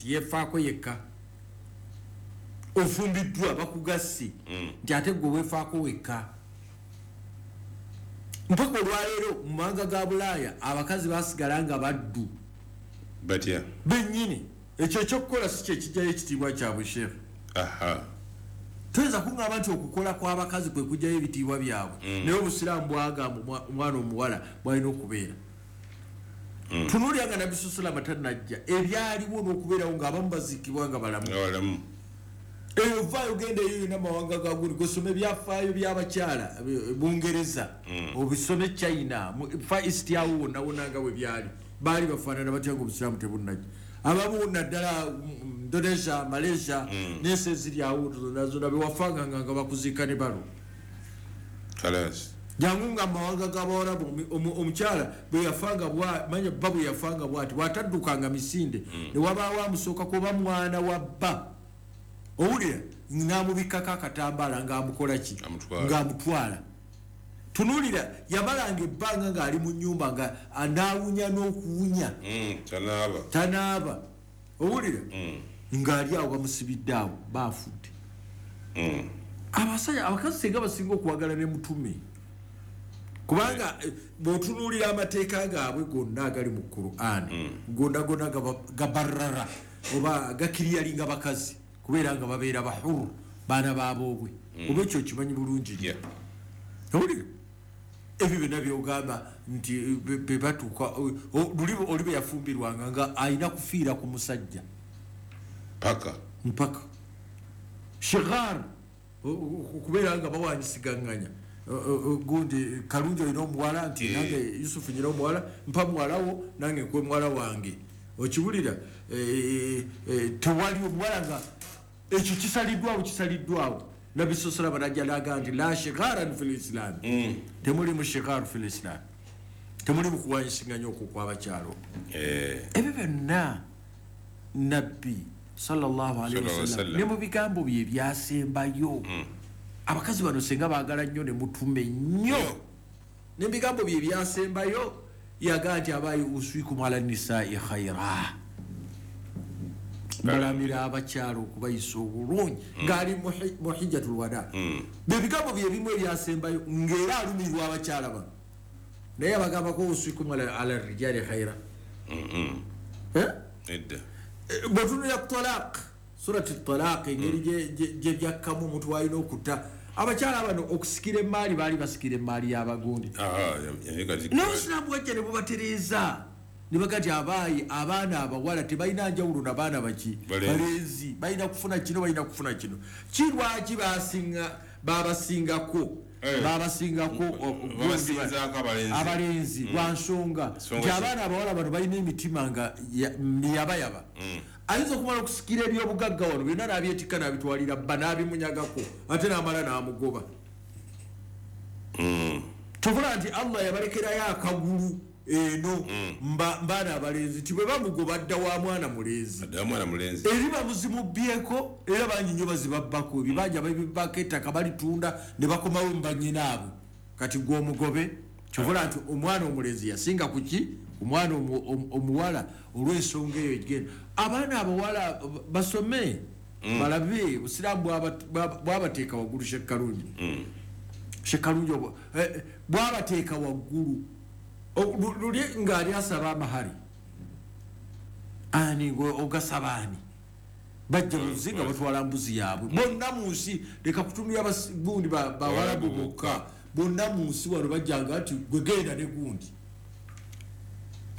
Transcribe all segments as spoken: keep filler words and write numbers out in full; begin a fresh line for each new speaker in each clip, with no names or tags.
Yefaako yekka, ofumbiddwa bakugasse nti ate gwe weefaako wekka. Mpaka olwaleero mu mawanga ga Bulaaya abakazi basigala nga baddu.
Batya?
Bennyini. Ekyo ekyokukola si kyekijjayo ekitiibwa kyabwe, sheekh.
Aha.
Toyinza kuŋŋamba nti okukola kw'abakazi kwe kujjayo ebitiibwa byabwe, naye obusiraamu bwagamba omwa- omwana omuwala bwalina okubeera. Tunuulira nga Nabbi salama tannajja, ebyaliwo n'okubeerawo ng'abamu baziikibwa nga balamu.
Nga balamu.
Eyo vaayo, genda eyo yonna mawanga ga guli, gosoma ebyafaayo by'abakyala eh, Bungereza, obisome China, mu- Far East awo wonna wonna nga bwe byali, baali bafaanana batya nga obusiraamu tebunnajja. Abamu naddala mm, Indonesia, Malaysia n'ensi eziri awo zonna zonna bewafanganga nga bakuziika ne balo.
Kalas.
Jangu nga mawanga g'abawarabu, omu- omu- omukyala bwe yafanga bwa manya bba bwe yafanga bwati bw'ataddukanga misinde, ne wabaawo amusookako oba mwana wa bba, owulira, n'amubikkako akatambaala ng'amukola ki?
Amutwala.
Ng'amutwala. Tunuulira, yamalanga ebbanga ng'ali mu nnyumba nga anaawunya n'okuwunya.
Mm, tanaaba.
Tanaaba, owulira, ng'ali awo bamusibidde awo baafudde.
Mm.
Abasajja, abakazi singa basinga okwagala ne mutume, kubanga eh, bw'otunuulira amateeka gaabwe gonna agali mu Qur'an, gonna gonna gaba- gabarara oba gakiriyalinga bakazi kubeera nga babeera bahuru, baana baboobwe, oba ekyo okimanyi bulungi nnyo.
Yeah.
Owulira, ebyo byonna byogamba nti eh, be- be batuuka o- o- luli oli bwe yafumbirwanga nga alina kufiira ku musajja.
Paka.
Mpaka shigar okubeera nga bawanyisiganganya. Gundi Kalungi olina omuwala nti
Eh.
nange Yusufu nyina omuwala, mpa muwalawo nange nkuwe muwala wange, okiwulira? Eh, eh, tewali omuwala nga ekyo kisaliddwawo, kisaliddwawo. Nabbi salama najja naga nti la shigaran fi lislam, temuli mu shigar fi lislam, temuli mu kuwanyisiganya okwo kwabakyalo.
Eh.
Ebyo byonna Nabbi sallallahu alaihi
Sallallahu
wasallam
wasallam.
ne mu bigambo bye byasembayo, abakazi bano senga baagala nnyo ne mutume nnyo, ne mu bigambo bye byasembayo yagaa nti abayi uswikum ala nisai khaira, mulamira abakyala okubayisa obulungi, ng'ali mu hi- mu hijjatul wada. Bye bigambo bye bimu ebyasembayo ng'era alumirwa abakyala bano, naye abagambako uswikum ala ala rijali khaira.
Mm-mm.
Eh?
Edda.
Bwetunulira ku talaq, surati Talaq, engeri gye- gye- gye byakkamu omuntu walina okutta abakyala bano okusikira emaali, baali basikira emaali y'abagundi.
Aha, yaye kati.
Naye obusiraamu bwajja ne bubatereeza ne baga nti abaayi abaana abawala tebalina njawulo nabaana baki?
Balenzi.
Balenzi. Balina kufuna kino, balina kufuna kino. Kirwaki basinga babasingako?
Eh.
Babasingako o- o-
Babasinzaako abalenzi.
Abalenzi lwa nsonga
Nsonga
nti
ki?
abaana abawala bano balina emitima nga ya- miyabayaba, ayinza okumala okusikira ebyobugagga wano byonna n'abyetikka n'abitwalira bba n'abimunyagako ate n'amala n'amugoba.
Mm.
Tubula nti Allah yabalekerayo akagulu eno mba- mbaana abalenzi ti bwe bamugoba dda wa mwana mulenzi.
Adda mwana mulenzi.
Eri bamuzimubyeko, era bangi nnyo bazibabbako ebibanja, babibako ettaka balitunda ne bakomawo mubanyinaabwe. Kati gwe omugobe, kyovula nti omwana omulenzi yasinga kuki omwana omu- omu- omuwala olw'ensonga eyo egenda. Abaana abawala basome, balabe obusiraamu bwaba- bwaba- bwabateeka waggulu. Shekkalungi, Shekkalungi, obwo- eh, eh, bwabateeka waggulu. O- lu- luli ng'ali asaba amahari, ani gwe ogasaba? Ani bajja buzi nga batwala mbuzi yaabwe bonna mu nsi. Leka kutumira basi- gundi ba- bawalabu bokka, bonna mu nsi wano bajjanga nti gwe genda ne gundi.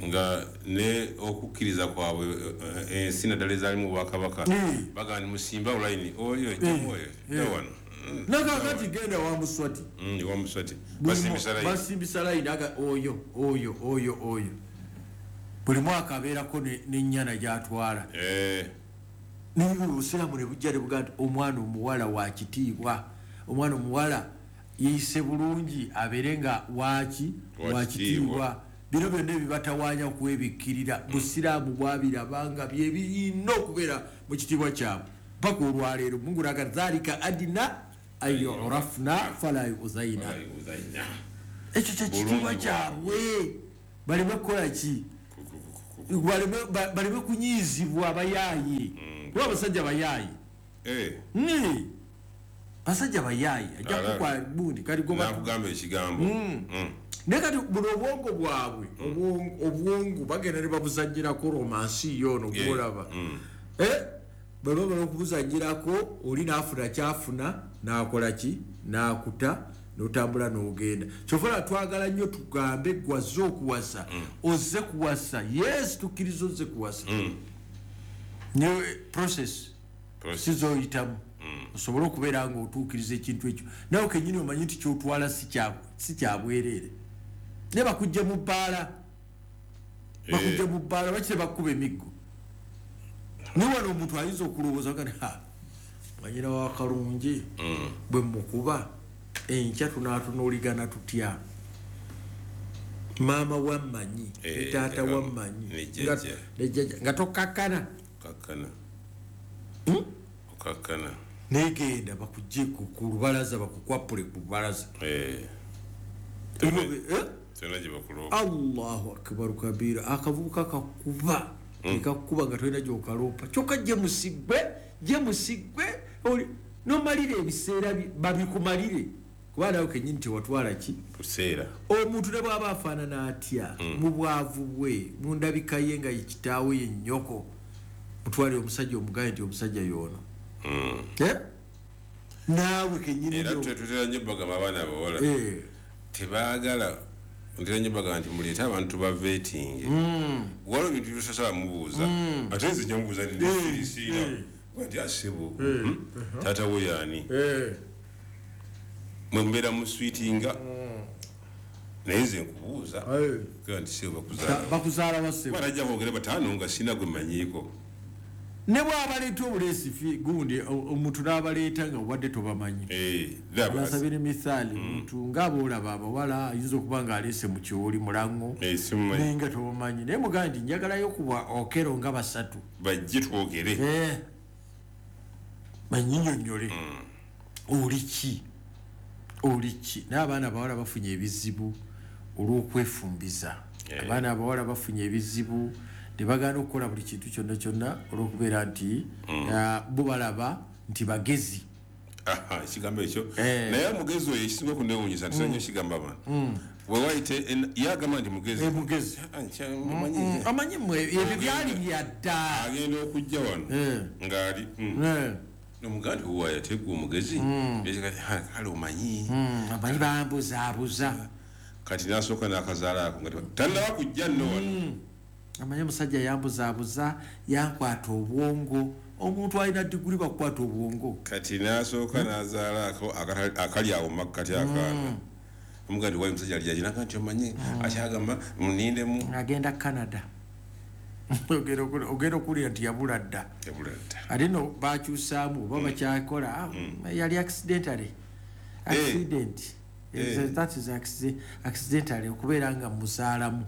Nga ne okukkiriza kwabwe, eh, ensi naddala ezaalimu obwakabaka,
Mm.
bagamba ni musimba olayini oyo jjamu oyo dda wano. Mm.
Nakakati genda wa Muswati.
Mm, wa Muswati basimbisa layini.
Basimbisa layini, aga oyo oyo oyo oyo, buli mwaka abeerako ne- n'ennyana gyatwala.
Eh,
Naye obusiraamu ne bujja ne bugaa nti omwana omuwala wa kitiibwa, omwana omuwala yeeyise bulungi, abeere nga waki?
Wa
Wa
kitiibwa.
kitiibwa. Bino byonna ebibatawaanya okwebikkirira, busiraamu bwabirabanga byebirina okubeera mu kitiibwa kyabwe paka olwaleero. Mungu naga dhalika adina an yurafna fala yuzaina.
Uzanya.
Ekyo kyekitiibwa
Bulungi.
kyabwe, baleme kukola ki?
Ku- ku- ku-
Baleme kunyiizibwa abayaayi. Kuba abasajja bayaayi. Eh. Basajja bayaayi ajja kukwa bundi kali goba
nakugamba ekigambo.
Naye kati buno obwongo bwabwe obwongo bagenda ne babuzannyirako romansi yono gw'olaba. Eh? Bwe bamala okubuzannyirako oli n'afuna kyafuna n'akola ki n'akuta n'otambula n'ogenda. Kyova twagala nnyo tugambe gwazze okuwasa ozze kuwasa. Yes, tukkiriza ozze kuwasa. Naye process sizoyitamu osobola okubeera ng'otuukiriza ekintu ekyo nawe kennyini omanyi nti kyotwala si kyabwereere. Naye bakujja mu bbaala bakujja mu bbaala bakire bakkuba emiggo. Naye wano omuntu ayinza okulowooza gani ha mwanyina wa Kalungi bwe mukuba enkya tunaatunuuligana tutya, maama wammanyi ne taata wammanyi nga tokakkana
okakkana
negenda bakujje ku lubalaza bakukwapule ku lubalaza. Allahu akbar kabira. Akavubuka kakuba nekakuba nga tolina gy'okaloopa kyokka gye musigwe gye musigwe nomalire ebiseera babikumalire kuba nawe kennyini tewatwala ki
kuseera.
Omuntu ne bw'aba afaanana atya mu bwavu bwe mu ndabika ye nga ye kitaawe ye nnyoko mutwale omusajja omugaye nti omusajja y'ono. Naawe kennyini
era tutera nnyo bagamba abaana abawala tebaagala ntera nnyo bagamba nti muleete abantu baveetinge. Waliwo ebintu by'otasaba mubuuza ate nze nja mubuuza nti ndisiira nti asebo taata we yaani mwe mubeera mu swiitinga naye nze nkubuuza nti sebo bakuzaala
bakuzaala basebo
barajja boogere bataano nga sina gwe mmanyiiko.
Ne bw'abaleeta obuleesi gundi omuntu n'abaleeta nga obadde tobamanyi. Basabire mithaali omuntu ng'aboolaba abawala ayinza okuba ng'aleese mu kiwoli mulango naye nga tobamanyi naye mugambe nti njagalayo kuba okero nga basatu
bajje twogere
banyinyonnyole oli ki oli ki. Naye abaana abawala bafunye ebizibu olw'okwefumbiza. Abaana abawala bafunye ebizibu ne bagaana okukola buli kintu kyonna kyonna olw'okubeera nti bo balaba nti bagezi.
Ekigambo ekyo naye omugezi oyo ekisinga okunneewuunyisa nti nnyo ekigamba abantu bwe wayite yagamba nti mugezi
mugezi amanyi mmwe ebyo byali bya dda.
Agenda okujja wano ng'ali nomugamba nti owa yateggwa omugezi kale omanyi
amanyi bambuzaabuza
kati n'asooka n'akazaala ako nga tannaba kujja nno wano.
Amanyi omusajja yambuzaabuza yankwata obwongo. Omuntu alina diguli bakukwata obwongo
kati n'asooka n'azaala ako akali awo makkati akaana omugamba nti wayi omusajja ali aginaga nti omanyi akyagamba munindemu
agenda Canada. Ogenda okuwulira nti yabula dda ate no bakyusaamu oba bakyakola yali accidentally accident that is accidentally okubeera nga muzaalamu.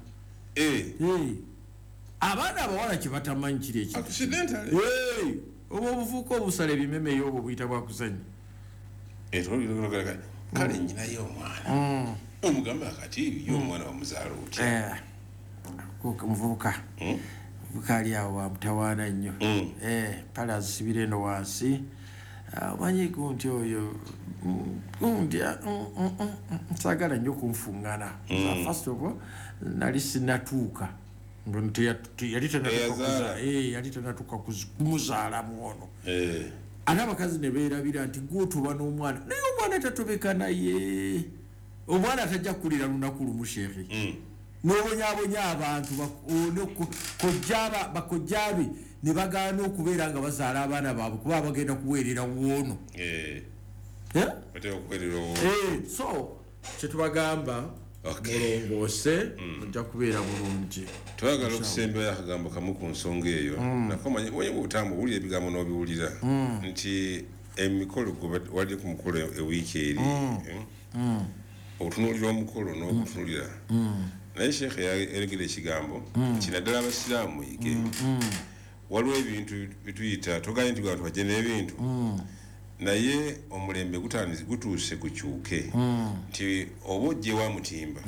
Abaana abawala kye batamanyi kiri ekintu oba obuvuuka obusala ebimeme obwo buyita bwakuzannya.
Kale nnyinayo omwana omugamba kati ye omwana wamuzaala otya
muvubuka muvubuka ali awo wamutawaana nnyo pale azisibira eno wansi omanyi gundi oyo gundi saagala nnyo kunfungana. First of all nali sinnatuuka yali tanatuuka kumuzaalamu ono. Ate abakazi ne beerabira nti gw'otuba n'omwana naye omwana tatobeka naye omwana tajja kukulira lunaku lumu sheekhe n'obonyaabonya abantu bakojjaabe ne bagaana okubeera nga bazaala abaana baabwe kuba bagenda kuweerera woono. So kyetubagamba mulongoose ojja kubeera bulungi.
Twagala okusembayo akagambo kamu ku nsonga eyo nakomanyi obutamu owulira ebigambo n'obiwulira nti emikolo wali ku mukolo ewiiki eri otunuulira omukolo n'okutunuulira naye sheekhe yalegera ekigambo kinaddala abasiraamu muyige waliwo ebintu bituyita toganye nti bantu bajje n'ebintu Naye omulembe gutandise gutuuse gukyuke nti oba ojje wa mutimba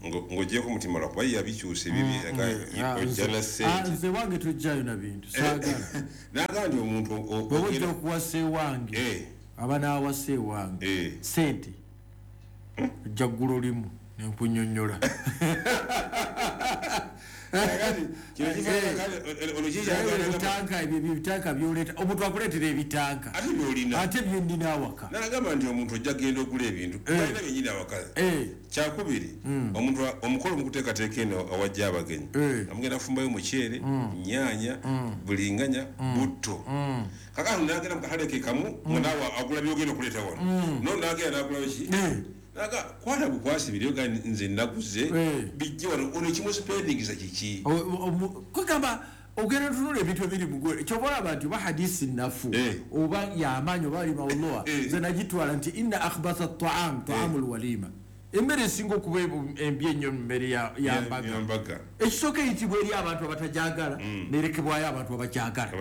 ng'oggyeko mutimba lwakuba ye yabikyusa ebibye ojja na ssente.
Nze wange tojjayo na bintu saagala.
N'agamba nti omuntu
bw'oba ojja okuwasa ewange aba n'awasa ewange ssente ojja ggula olimu nenkunyonnyola. Ebitanka ebyo ebitanka byoleeta omuntu akuleetera ebitanka
ate byolina
ate byennina awaka.
N'agamba nti omuntu ojja kugenda ogula ebintu balina byennyini awaka. Kyakubiri omuntu omukolo mukuteekateeka eno awajja abagenyi amugenda kufumbayo muceere, nnyaanya, bulinganya, butto. Kakati n'agenda mu katale ke kamu nga naawe agula by'ogenda okuleeta wano no n'agenda n'agula ki naga kwata bukwasi biriyo ga nze naguze bijje wano ono kimu spending za kiki
kugamba ogenda tunula ebintu ebiri mugole kyova olaba nti oba hadisi nafu oba yamaanyi oba ali mawullah nze nagitwala nti inna akhbatha taam taamu lwalima emmere esinga okuba embi ennyo mu mmere yambaga ekisooka eyitibwa eri abantu abatajagala nerekebwayo abantu abakyagala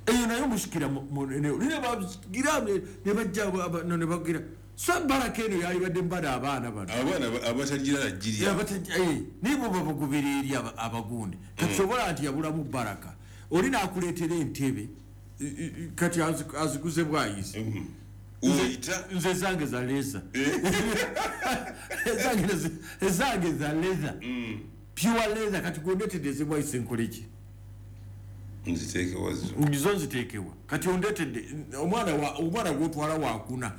eyo nayo musikira nebagira nebajja nebagira so baraka eno yalibadde mbada abaana bano
abaana abatagira nagirya
naye bo babagobera eri abagundi kati sobola nti yabulamu baraka oli n'akuleetera entebe kati aziguze bwayizi nze zange za leza ezange za leza pure leza kati gondetedde ezibwayise nkoleki
nziteekewa zo
zo nziteekewa kati ondetedde omwana omwana gwotwala wakuna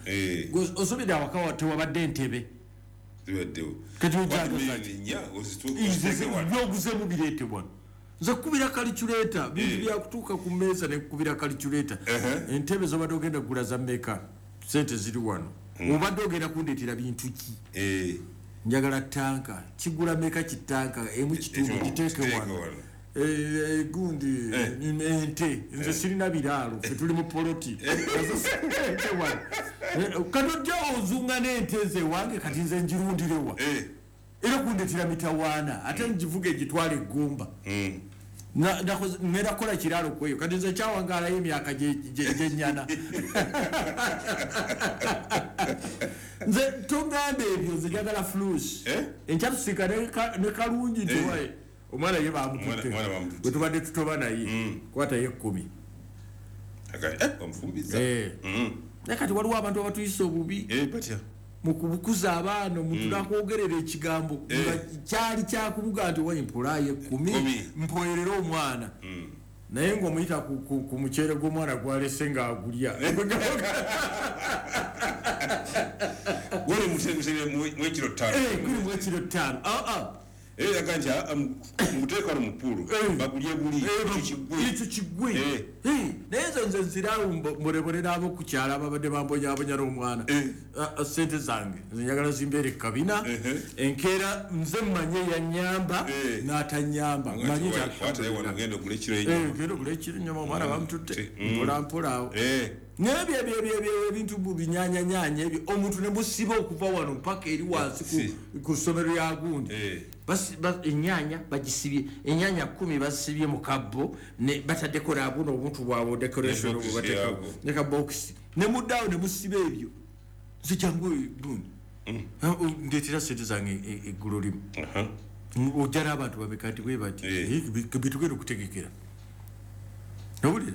osobedde awaka tewabadde entebe
zibaddewo
kati ojabyoguzemu bireete wano nze kukubira kaliculeeta bintu byakutuuka ku mmeeza nekukubira kaliculeeta entebe zobadde ogenda kugula za mmeka sente ziri wano obadde ogenda kundeetera bintu ki njagala tanka kigula mmeka kitanka emu kitundu giteeke wano gundi ente nze sirina biraalo ffe tuli mu poloti ente wano kati ojja ozunga n'ente nze ewange kati nze njirundirewa era kundetera mitawaana ate ngivuga egitwala eggumba ngenda kukola kiraalo kweyo kati nze kyawangaalayo emyaka gyenyana nze tongamba ebyo nze njagala flus enkya tusiika ne kalungi nti waye omwana ye bamututte bwe tubadde tutoba naye kwatayo ekkumi naye kati waliwo abantu abatuyisa obubi mu kubukuza abaana omuntu nakwogerera ekigambo nga kyali kyakumuga nti wayi mpolayo ekkumi mpoerere omwana naye ng'omuyita ku muceere gw'omwana gwalese ng'agulya
guli mwekiro ttaano
guli mwekiro ttaano
era yaga nti muteeka wano mu ppuulu bagulye buli
ekyo kiggwe naye nze nze nziraawo mbolebole n'ab'oku kyalo ababadde bambonyaabonya n'omwana sente zange nze njagala zimbeere kabina enkeera nze mmanye yanyamba n'atanyamba manye
genda ogule
ekiro ennyama omwana bamututte mpola mpola awo naye ebyo ebyo ebintu binyanyanyanya ebyo omuntu ne musiba okuva wano mpaka eri wansi ku ssomero lya gundi ennyaanya bagisibye ennyaanya kkumi bazisibye mu kabbo bataddeko nabuno obuntu bwabwe decoration bwebateekako ne kabokisi ne muddaawo ne musiba ebyo nze jangu gundi ndeetera sente zange eggulo limu ojja n'abantu bameka nti bwe bati bitugenda okutegekera owulira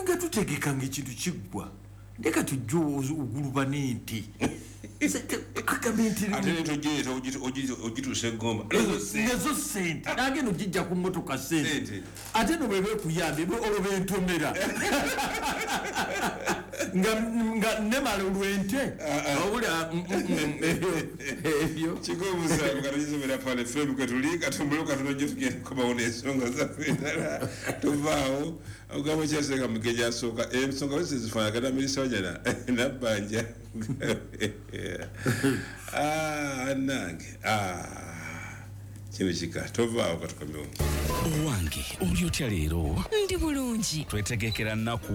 nga tutegekanga ekintu kiggwa ndeka tujje oguluba n'ente
ogituusa eggomba
nezo sente nagenda ogijja ku mmotoka sente ate no bweba ekuyambye olwo bentomera nga nemala olw'ente owulira ebyo
kikomusangaizomera pale fm kwetuli katumbule katono gye tugenda kukomawo n'ensonga zaffe endala tuvaawo ogamba kyasenga mugeja asooka ensonga wese zifaanagana minisita wajana nabbanja nange Kino kika tovaawo katukomewo.
Owange oli otya leero?
Ndi bulungi.
Twetegekera nnaku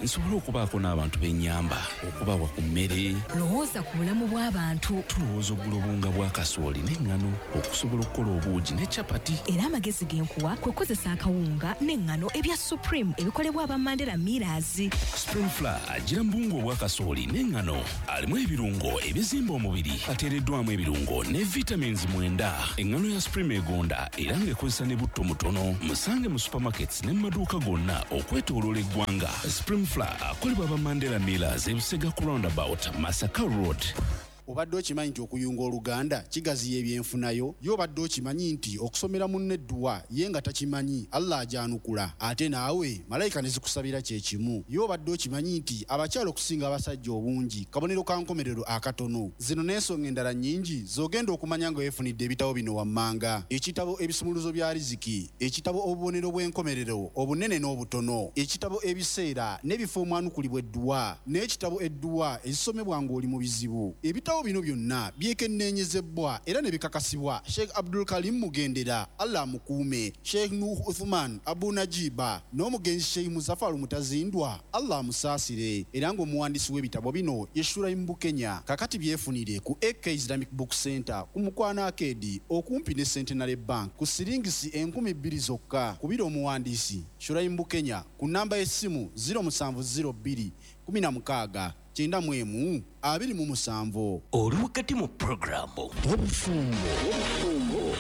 nsobole okubaako n'abantu b'ennyamba, okubawa ku mmere.
Lowooza ku bulamu bw'abantu.
Tulowooza ogula obuwunga bwa kasooli n'eŋŋano okusobola okukola obuugi ne capati.
Era amagezi ge nkuwa kwe kukozesa akawunga n'eŋŋano ebya Supreme ebikolebwa aba Mandela Millers.
Supreme Flour agira mu buwunga obwa kasooli n'eŋŋano, alimu ebirungo ebizimba omubiri, ateereddwamu ebirungo ne vitamins mwenda. Eŋŋano ya Supreme egonda era ng'ekozesa ne butto mutono. Musange mu supermarkets ne mu maduuka gonna okwetooloola eggwanga. Supreme Flour akolebwa aba Mandela Millers, ebusega ku roundabout Masaka Road.
Obadde okimanyi nti okuyunga oluganda kigaziya ebyenfunayo? Ye obadde okimanyi nti okusomera munno edduwa ye nga takimanyi Allah ajanukula, ate naawe malayika ne zikusabira kye kimu? Ye obadde okimanyi nti abakyala okusinga abasajja obungi kabonero ka nkomerero akatono? Zino n'ensonga endala nnyingi z'ogenda okumanya nga weefunidde ebitabo bino wammanga: ekitabo Ebisumuluzo bya Riziki, ekitabo Obubonero bw'enkomerero obunene n'obutono, ekitabo Ebiseera n'ebifo omwanukulibwa edduwa, n'ekitabo Edduwa ezisomebwa ng'oli mu bizibu. Ebitabo bino byonna byekenneenyezebwa era ne bikakasibwa Sheikh Abdul Karim Mugendera, Allah amukuume, Sheikh Nuh Uthman Abu Najiba n'omugenzi Sheikh Muzafaru Mutazindwa, Allah amusaasire. Era ng'omuwandiisi w'ebitabo bino ye Shuraim Bukenya. Kakati byefunire ku A K Islamic Book Center ku Mukwano Arcade okumpi ne Centenary Bank ku siringisi enkumi bbiri zokka. Kubira omuwandiisi Shuraim Bukenya ku namba y'essimu zero musanvu zero bbiri kumi na mukaaga kyenda mu emu abiri mu musanvu.
Oli wakati mu puroguramu
Obufumbo.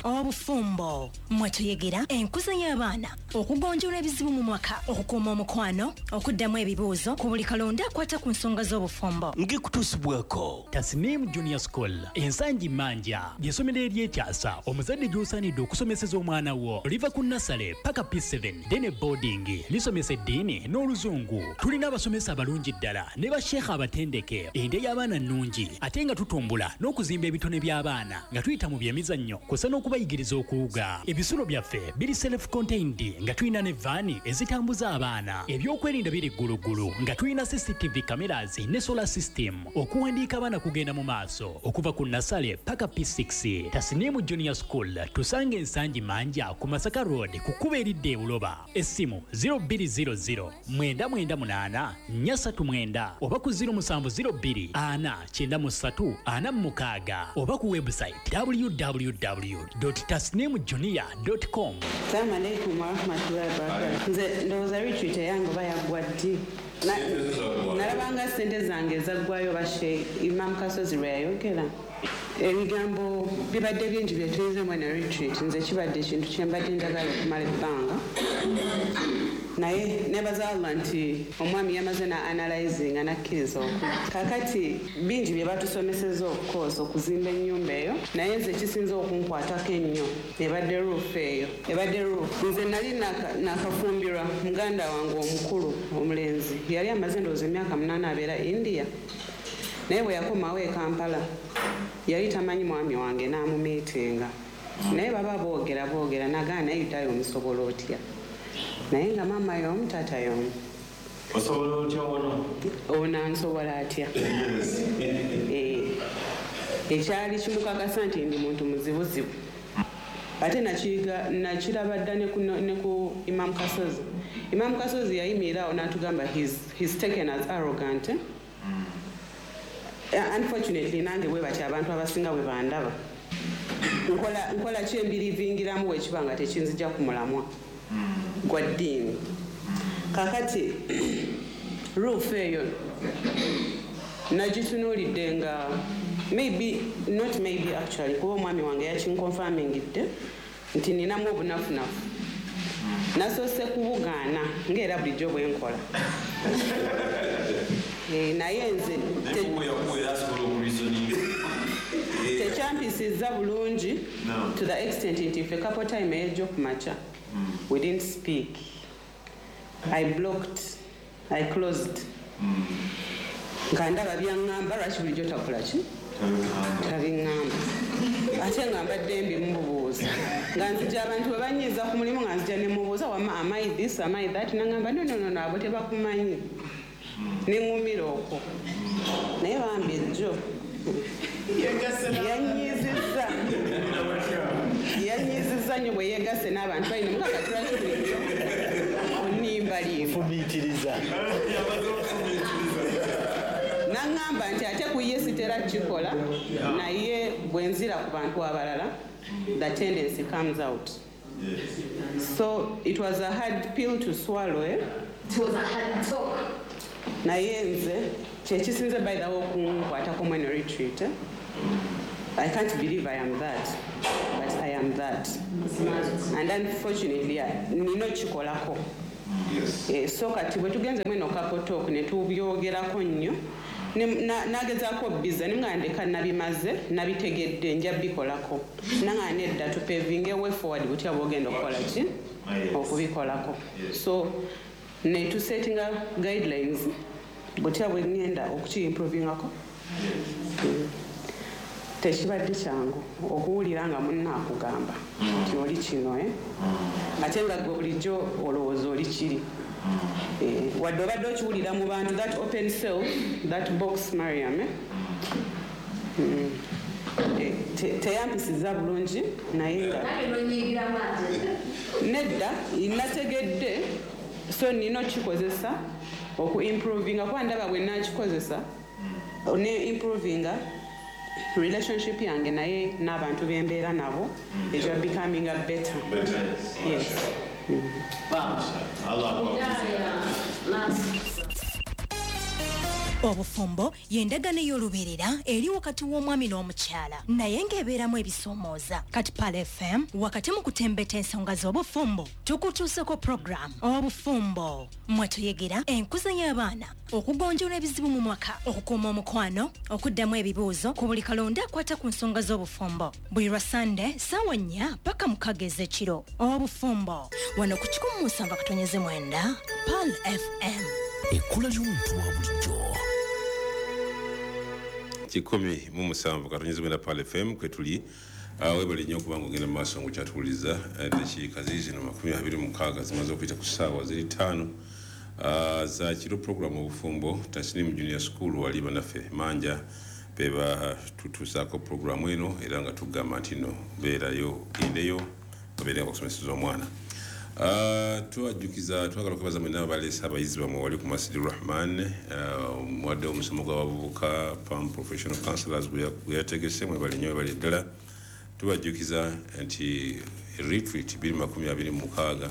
Obufumbo mwe tuyegera enkuza y'abaana, okugonjoola ebizibu mu mwaka, okukuuma omukwano, okuddamu ebibuuzo ku buli kalonda akwata ku nsonga z'obufumbo.
Ngekutuusibwako
Tasnim Junior School Ensangi Manja, ly'essomero ery'ekyasa omuzadde gy'osaanidde okusomeseza omwana wo. Liva ku nasale paka P seven dene boarding, lisomesa eddiini n'oluzungu. Tulina abasomesa abalungi ddala ne basheekha abatendeke. Endya y'abaana nnungi ate nga tutumbula n'okuzimba ebitone by'abaana nga tuyita mu byemizannyo kw'ossa n'okubayigiriza okuwuga. Ebisulo byaffe biri self contained nga tulina ne vaani ezitambuza abaana. Ebyokwerinda biri gguluggulu nga tulina C C T V cameras ne solar system. Okuwandiika abaana kugenda mu maaso okuva ku nasale paka P six. Tasnimu Junior School tusange Ensangi Manja ku Masaka Road ku kkubo eridda e Buloba. Essimu zero bbiri zero zero mwenda mwenda munaana nnya ssatu mwenda oba ku zero musanvu zero bbiri ana kyenda mu ssatu ana mu mukaaga oba ku website w w w dot tasnim junior dot com.
Assalamu alaikum warahmatullahi wabarakatuh. Nze ndowooza retreat eyange oba yaggwa ddi? Nalabanga ssente zange ezaggwayo bashe Imam Kasozi lwe yayogera. Ebigambo bibadde bingi bye tuyinzemu eno retreat. Nze kibadde ekintu kye mbadde njagala okumala ebbanga. Naye nebaza Allah nti omwami yamaze na analyzing anakkiriza okwo. Kaakati bingi bye batusomeseza of course okuzimba ennyumba eyo, naye nze ekisinza okunkwatako ennyo ebadde roof eyo. Ebadde roof. Nze nali nakafumbirwa muganda wange omukulu omulenzi, yali amaze ndowooza emyaka munaana abeera India, naye bwe yakomawo e Kampala yali tamanyi mwami wange n'amumiitinga. Naye baba boogera boogera nagaana, naye Yudayo omusobola otya? Naye nga maama y'omu taata y'omu.
Osobola otya ono?
Ono ansobola atya? Ekyali kimukakasa nti ndi muntu muzibuzibu. Ate nakiraba dda ne ku Imam Kasozi. Imam Kasozi yayimirira awo n'atugamba he's taken as arrogant. Unfortunately nange bwe batyo abantu abasinga bwe bandaba. Nkola ki embirivingiramu bwe kiba nga tekinzija ku mulamwa gwa ddiini. Kaakati roof eyo nagitunuulidde nga maybe not maybe actually kuba omwami wange yakinconfirmingidde nti ninamu obunafunafu. Nasoose kubugaana ng'era bulijjo bwe nkola. Naye nze tekyampisizza bulungi to the extent nti ffe couple time ey'ejjo ku makya we didn't speak. I blocked, I closed. Nga ndaba byaŋŋamba lwaki bulijjo takola ki? Tabiŋŋamba. Ate nga mbadde mbimubuuza. Nga nzija abantu bwe banyiiza ku mulimu nga nzija ne mubuuza wamma am I this, am I that? N'aŋŋamba no, no, no, no, abo tebakumanyi. Ne ŋŋumira okwo. Naye bambi ejjo. Yanyiizizza yanyiizizza nnyo bwe yeegasse n'abantu balina mukaka tulaki bulijjo onimbalimba
fumiitiriza.
Naŋŋamba nti ate ku ye sitera kikola, naye bwe nzira ku bantu abalala the tendency comes out. So it was a hard pill to swallow, eh?
It was a hard talk.
Naye nze kyekisinze by the way okunkwatako mweno retreat, eh? I can't believe I am that, but I am that. And unfortunately nina okikolako. Eh, so kati bwe tugenze mweno couple talk ne tubyogerako nnyo, nagezaako biza ne nga ndeka nabimaze nabitegedde nja bikolako. Nanga nedda tupevinge way forward butya bwogenda okukola ki okubikolako. So ne tusettinga guidelines butya bwe ngenda okuki-improvingako. Tekibadde kyangu okuwulira nga munna akugamba nti oli kino, eh? Ate nga gwe bulijjo olowooza oli kiri. Eh, wadde obadde okiwulira mu bantu, that open self, that box Mariam, eh? Mm. Eh, teyampisiza bulungi naye nga nedda nategedde, so nina okikozesa oku-improvinga kuba ndaba bwe nakikozesa ne improvinga relationship yange naye n'abantu bembeera nabo ejja becoming a better. Yes.
Obufumbo y'endagaano ey'olubeerera eri wakati w'omwami n'omukyala, naye ng'ebeeramu ebisoomooza. Kati Pearl F M wakati mu kutembeta ensonga z'obufumbo tukutuuseko program Obufumbo mwe tuyegera enkuza y'abaana, okugonjoola ebizibu mu mwaka, okukuuma omukwano, okuddamu ebibuuzo ku buli kalonda akwata ku nsonga z'obufumbo. Buli lwa Sande ssaawa nnya paka mukaaga ez'ekiro. Obufumbo wano ku kikumi mu musanvu akatonyeze mwenda Pearl F M.
Ekkula ly'omuntu wa bulijjo.
Kikumi mu musanvu katonyeze mwenda Pearl F M kwe tuli. Webale nnyo okubanga ogenda mu maaso ng'okyatuwuliriza. Eddakiika ziizino makumi abiri mu mukaaga zimaze okuyita ku ssaawa ziri ttaano za kiro. Program Obufumbo Tasnimu Junior School wali bannaffe Manja be batutuusaako programu eno, era nga tugamba nti nno beerayo gendeyo babeere nga bakusomeseza omwana. Twajjukiza twagala okwebaza mwenna abaleese abayizi bammwe wali ku Masjid Rahman, wadde omusomo gw'abavubuka Palm Professional Counselors gwe yategese, mwebale nnyo mwebale ddala. Tubajjukiza nti retreat bbiri makumi abiri mu mukaaga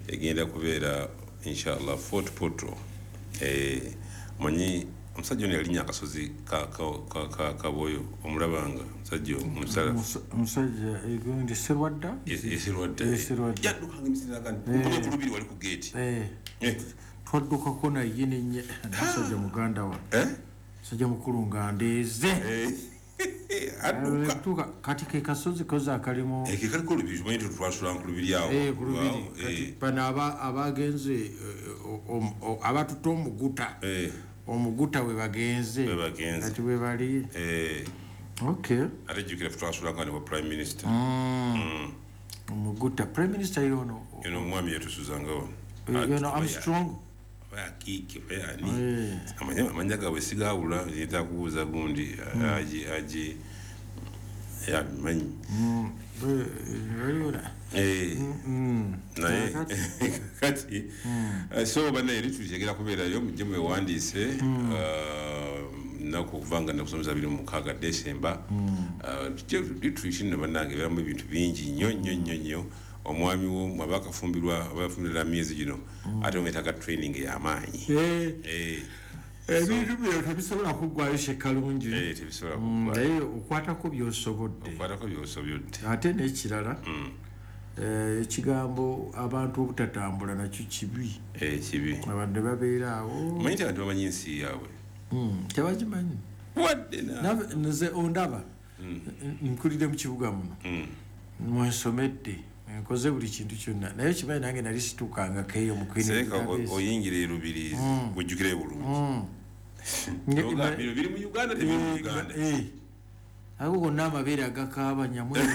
egenda kubeera inshallah Fort Portal. Manyi omusajja ono yalinnya akasozi Kaboyo, omulabanga omusajja omusala
omusajja egundi Serwadda,
Serwadda yaddukanga emisinde nkomye ku lubiri wali ku geeti,
twaddukako naye nenye omusajja muganda wa musajja mukulu nga ndeeze adduka. Kati ke kasozi koza akalimu
ekaliko olubiri, tumanyi nti twasula ku lubiri awo
kati bano abagenze abatutte omuguta omuguta we bagenze kati we bali. Okay,
ate jjukira ffe twasulanga ne wa prime minister
omuguta prime minister yono
yono omwami yatusuzangawo
yono Armstrong
akiike ani amanya gaabwe sigaawula, yetaaga kubuuza gundi aji aji yabimanyi naye kati so bannaye retreat egenda kubeerayo mujje mwewandiise nnaku okuva nga nakusomesa abiri mu mukaaga December. Retreat nno bannange ebeeramu ebintu bingi nnyo nnyo nnyo nnyo. Omwami wo aba akafumbirwa aba afumbirwa myezi gino ate omwetaaga training ey'amaanyi.
Ebintu bino tebisobola kuggwayo Shekalungi,
tebisobola kuggwayo,
naye okwatako by'osobodde,
okwatako by'osobodde.
Ate n'ekirala ekigambo abantu obutatambula nakyo kibi,
kibi.
Abantu babeera awo,
omanyi nti abantu bamanyi ensi yaabwe
tebagimanyi.
Wadde
nze ondaba nkulidde mu kibuga muno mwensomedde nkoze buli kintu kyonna, naye kimanyi nange nali situukangako eyo mu Queen
Elizabeth. Oyingira e Rubirizi ojjukire bulungi bino biri mu Uganda tebiri mu Uganda.
Ago gonna amabeere agakaaba nyamweru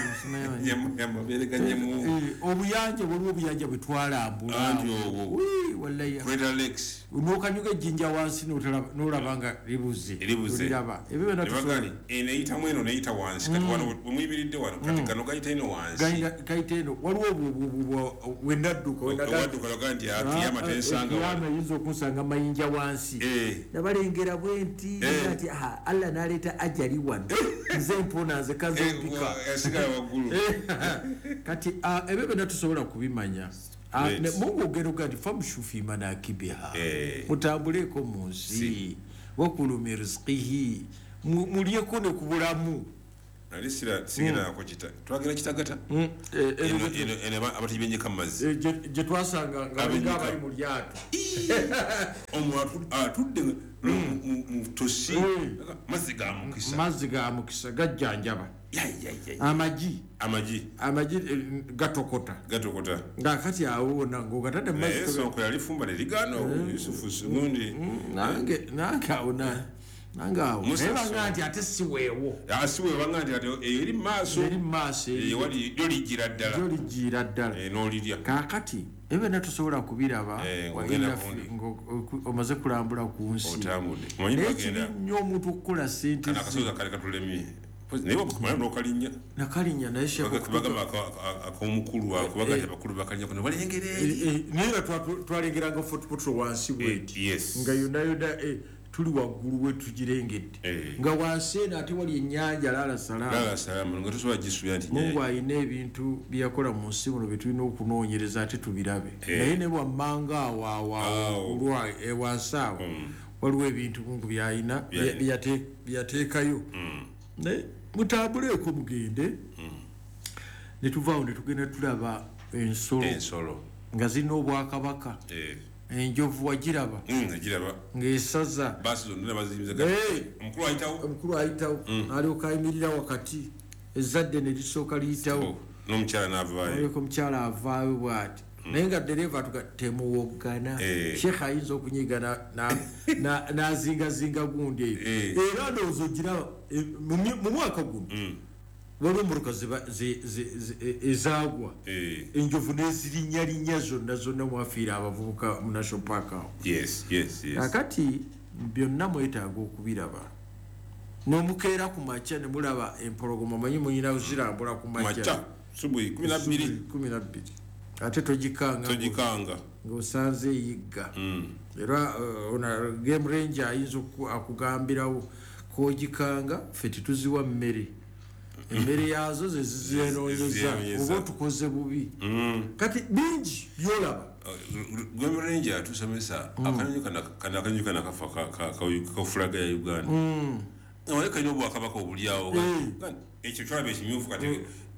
amabeere ga nyamu
obuyanja waliwo obuyanja bwe twalambula
anti obwo
wallahi
Greater Lakes
n'okanyuga ejjinja wansi n'olaba nga libuze oliraba ebyo byonna
tusobola eno eyitamu eno n'eyita wansi kati wano wemuyimiridde wano kati gano gayita eno wansi
gayita eno waliwo obwo wenadduka
wewadduka loga nti kiyama tensanga
kiyama eyinza okunsanga mayinja wansi nabalengera bwe nti nti Allah n'aleeta ajali wano nze mpona nze kazompika
yasigala waggulu
kati ebyo byonna tusobola kubimanya. Mungu ogenda nti famshu fi manakibiha, mutambuleko mu nsi, wakulu min rizqihi, mulyeko ne ku bulamu.
Nali sira sigenda kita twagenda Kitagata eno eno abatibenyeka mu mazzi
gye twasanga nga bali mu lyato
omu atudde mu tosi mazzi ga mukisa
mazzi ga mukisa gajjanjaba amagi
amagi
amagi gatokota
gatokota
nga kati awo wonna ng'ogatadde mu mazzi
sonko yalifumba ne ligaana Yusufu gundi
nange nange awo na nange awo naye banga nti ate si weewo
si weewo banga nti ate eyo eri mu maaso
eri mu maaso
ewali lyo lijjira ddala
lyo lijjira ddala
n'olirya
kaakati ebyo byonna tusobola kubiraba omaze kulambula ku nsi naye kibi nnyo omuntu okukola ssente
akasozi kale katulemye naye wakumala n'okalinnya
nakalinnya naye
bagamba ak'omukulu akubaga nti abakulu bakalinnyako ne balengera eri
naye nga twalengeranga Fort Portal wansi bweti nga yonna yonna tuli waggulu we tugirengedde nga wansi eno ate wali ennyanja Lala Salaamu
Lala Salaamu nga tosobola gisuubira nti
Mungu alina ebintu bye yakola mu nsi muno bye tulina okunoonyereza ate tubirabe naye ne wammanga awo awo olwa wansi awo waliwo ebintu Mungu by'alina bye yateekayo naye mutambuleeko mugende ne tuvaawo ne tugenda tulaba ensolo
ensolo
nga zirina obwakabaka enjovu wagiraba ng'esaza
omukulu ayitawo
omukulu ayitawo alyoka ayimirira wakati ezzadde ne lisooka liyitawo
n'omukyala n'avaayo
alyoka omukyala avaayo bw'ati naye nga ddereeva atuga temuwoggana sheekh ayinza okunyiga n'azingazinga gundi eyo era ndowooza ogiraba mu mwaka guno waliwo emmotoka ezaagwa enjovu n'ezirinnyalinnya zonna zonna mwafiira abavubuka mu National Park awo kakati byonna mwetaaga okubiraba n'omukeera ku makya ne mulaba empologoma manyi muyina zirambula ku makya kumi na bbiri ate togikanga
togikanga
ng'osanze eyigga era game ranger ayinza akugambirawo k'ogikanga ffe tetuziwa mmere emmere yaazo ze zizenoonyeza oba otukoze bubi kati bingi byolaba
game ranger atusomesa akanyonyi kano akanyonyi kano akafa ka fulaga ya Uganda naye kalina obwakabaka obuli awo ekyo kyolaba ekimyufu kati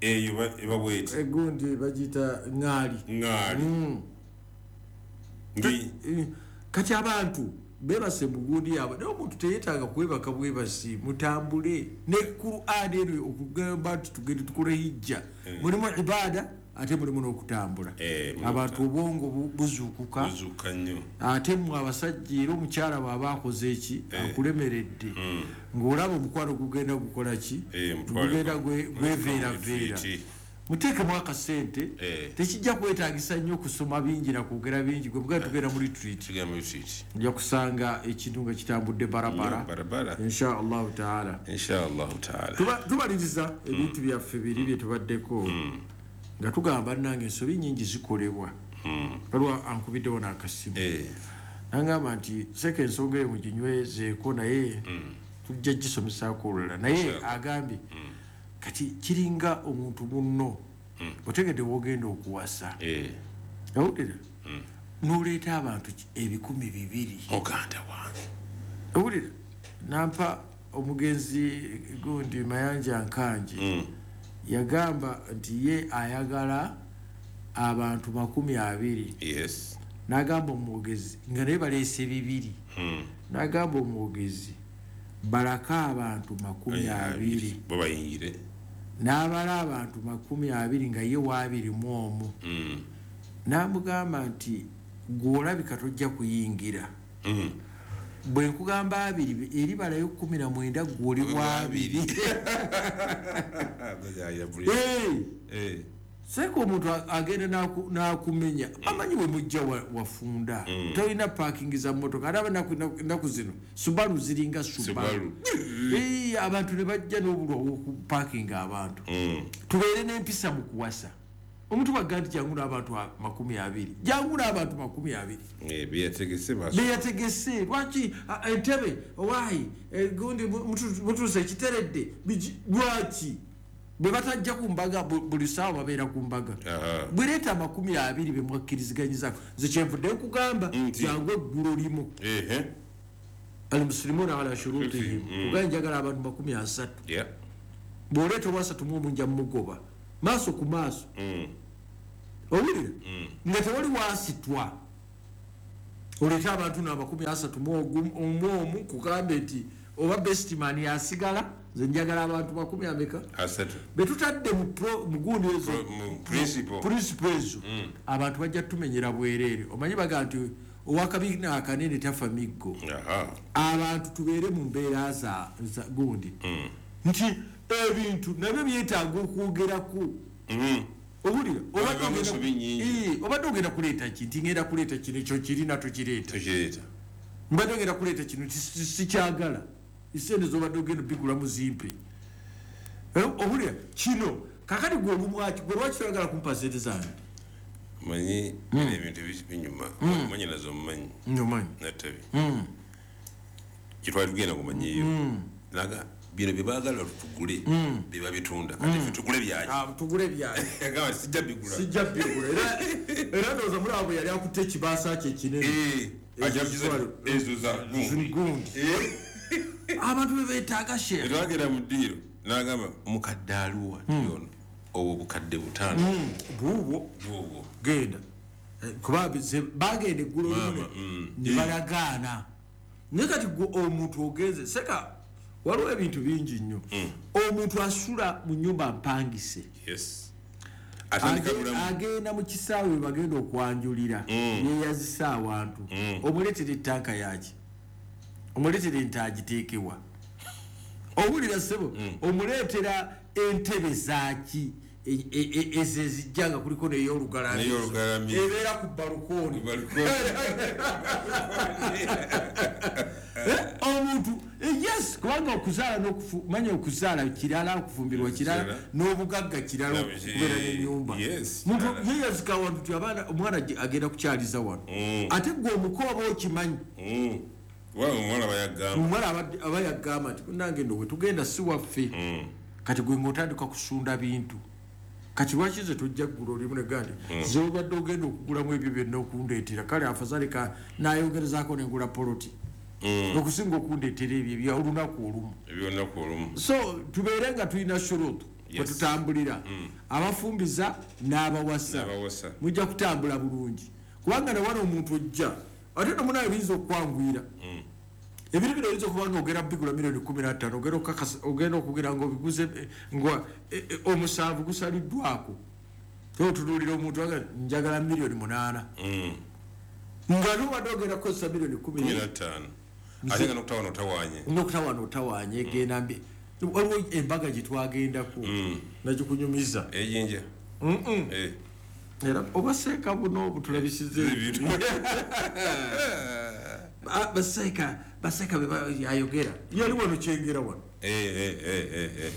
eyo eba bweti
egundi bagiyita ŋŋaali
ŋŋaali
kati abantu bebase mu gundi yaabwe naye omuntu teyeetaaga kwebaka bwebasi mutambule ne Qur'an eno okugamba nti tugende tukole hijja mulimu ibaada ate mulimu n'okutambula abantu obwongo buzuukuka ate mmwe abasajja era omukyala bw'aba akoze eki akulemeredde ng'olaba omukwano gugenda gukola ki gugenda gweveeraveera muteekemu akasente tekijja kwetaagisa nnyo okusoma bingi nakwogera bingi gwe mugenda tugenda mu retreat ojja kusanga ekintu nga kitambudde barabara insha Allahu taala tubaliriza ebintu byaffe biri bye tubaddeko nga tugamba nange ensobi nnyingi zikolebwa waliwo ankubiddewo n'akasimu nangamba nti seeka ensonga eyo muginywezeeko naye tujja gisomesaako olulala naye agambye kati kiringa omuntu munno otegedde wogenda okuwasa owulira n'oleeta abantu ebikumi bibiri
muganda wange
owulira nampa omugenzi gundi Mayanja Nkangi yagamba nti ye ayagala abantu makumi abiri
yes
n'agamba omwogezi nga naye baleese bibiri n'agamba omwogezi balaka abantu makumi abiri
bo bayingire
n'abala abantu makumi abiri nga ye waabiri mu omu n'amugamba nti gw'olabika tojja kuyingira Bwe nkugamba abiri eri balayo kkumi na mwenda ggwe oli wa abiri. Seeka omuntu agenda n'akumenya amanyi we mujja wafunda tolina parking za mmotoka ate ennaku zino Subaru ziringa Subaru. Abantu ne bajja n'obulwa okupakinga abantu. Tubeere n'empisa mu kuwasa. Omuntu bw'agamba nti jangu n'abantu makumi abiri, jangu n'abantu makumi abiri. Beyategese lwaki entebe owaayi gundi mutuuse ekiteredde lwaki? Bwe batajja ku mbaga buli ssaawa babeera ku mbaga. Bwereeta amakumi abiri be mwakkiriziganyizaako. Nze kyenvudde nkugamba jangu eggulo limu. Al-muslimuna ala shurutihim. Kugaye njagala abantu makumi asatu. Bw'oleeta owasatu mu omu nja mmugoba. Maaso ku maaso. Owulira? Nga tewali waasitwa. Oleeta abantu n'amakumi asatu mu omu kugambe nti oba bestman yasigala nze njagala abantu makumi ameka?
Asatu.
Be tutadde mu gundi ezo principle ezo abantu bajja tumenyera bwereere. Omanyi baga nti owakabiina akanene tafa miggo. Abantu tubeere mu mbeera za gundi nti ebintu nabyo byetaaga okwogerako. Owulira? Obadde ogenda kuleeta ki? Nti ngenda kuleeta kino ekyo kirina tokireeta. Mbadde ogenda kuleeta kino sikyagala. Esente z'obadde ogenda obigulamu zimpe. Owulira? Kino kakati gwe olumwaki gwe lwaki toyagala kumpa sente zange?
Manyi ebintu binyuma omanyi nazo omumanyi.
Omanyi.
Nattabi. Kitwali tugenda kumanyiyo. Naga bino bye baagala tugule bye babitunda kati ffe tugule byaki?
Tugule byaki.
Agamba sijja bigula.
Sijja bigula. Era ndowooza muri abo yali akutte ekibaasa kye ekinene.
Ezo za gundi.
Abantu be beetaaga sheekh.
Twagenda mu ddiiro n'agamba mukadde aluwa ono obwo bukadde butaano.
Buubwo.
Buubwo.
Genda. Kuba bagenda eggulo limu ne balagaana. Naye kati gwe omuntu ogenze seka waliwo ebintu bingi nnyo. Omuntu asula mu nnyumba mpangise.
Yes.
Agenda mu kisaawe we bagenda okwanjulira yeeyazisa awantu. Omuleetera ettanka yaki? Omuleetera ente agiteekewa. Owulira ssebo? Omuleetera entebe zaaki ezo ezijja nga kuliko n'ey'olugalamizo ebeera ku balukooni. Omuntu yes, kubanga okuzaala n'okufu manya okuzaala kirala, okufumbirwa kirala, n'obugagga kirala, okubeera n'ennyumba. Muntu yeeyazika awantu nti abaana omwana agenda kukyaliza wano. Ate ggwe omuko oba okimanyi.
Omuwala
aba yagamba nti nange nno we tugenda si waffe. Kati gwe ng'otandika kusunda bintu. Kati lwaki nze tojja kugula olimu ne gandi nze obadde ogenda okugulamu ebyo byonna okundeetera kale afazali ka naayongerezaako nengula poloti okusinga okundeetera ebyo ebya olunaku olumu.
Ebyolunaku olumu.
So tubeere nga tulina shurutu kwe tutambulira. Abafumbiza n'abawasa mujja kutambula bulungi kubanga ne wano omuntu ojja ate no munaye biyinza okwanguyira. Ebintu bino oyinza okuba nga ogenda bigula miliyoni kkumi na ttaano ogenda okugira nga obiguze nga omusanvu gusaliddwako. Otunuulira omuntu njagala miliyoni munaana. Nga n'obadde ogenda kukozesa miliyoni kkumi
na ttaano. Ate nga n'okutawaana otawaanye.
N'okutawaana otawaanye egenda mbi. Waliwo embaga gye twagendako nagikunyumiza.
Ejinja.
Era oba seeka buno obutulabisiza ebintu. Baseeka baseeka be ayogera. Yali wano kyengera wano.
Eh eh eh eh.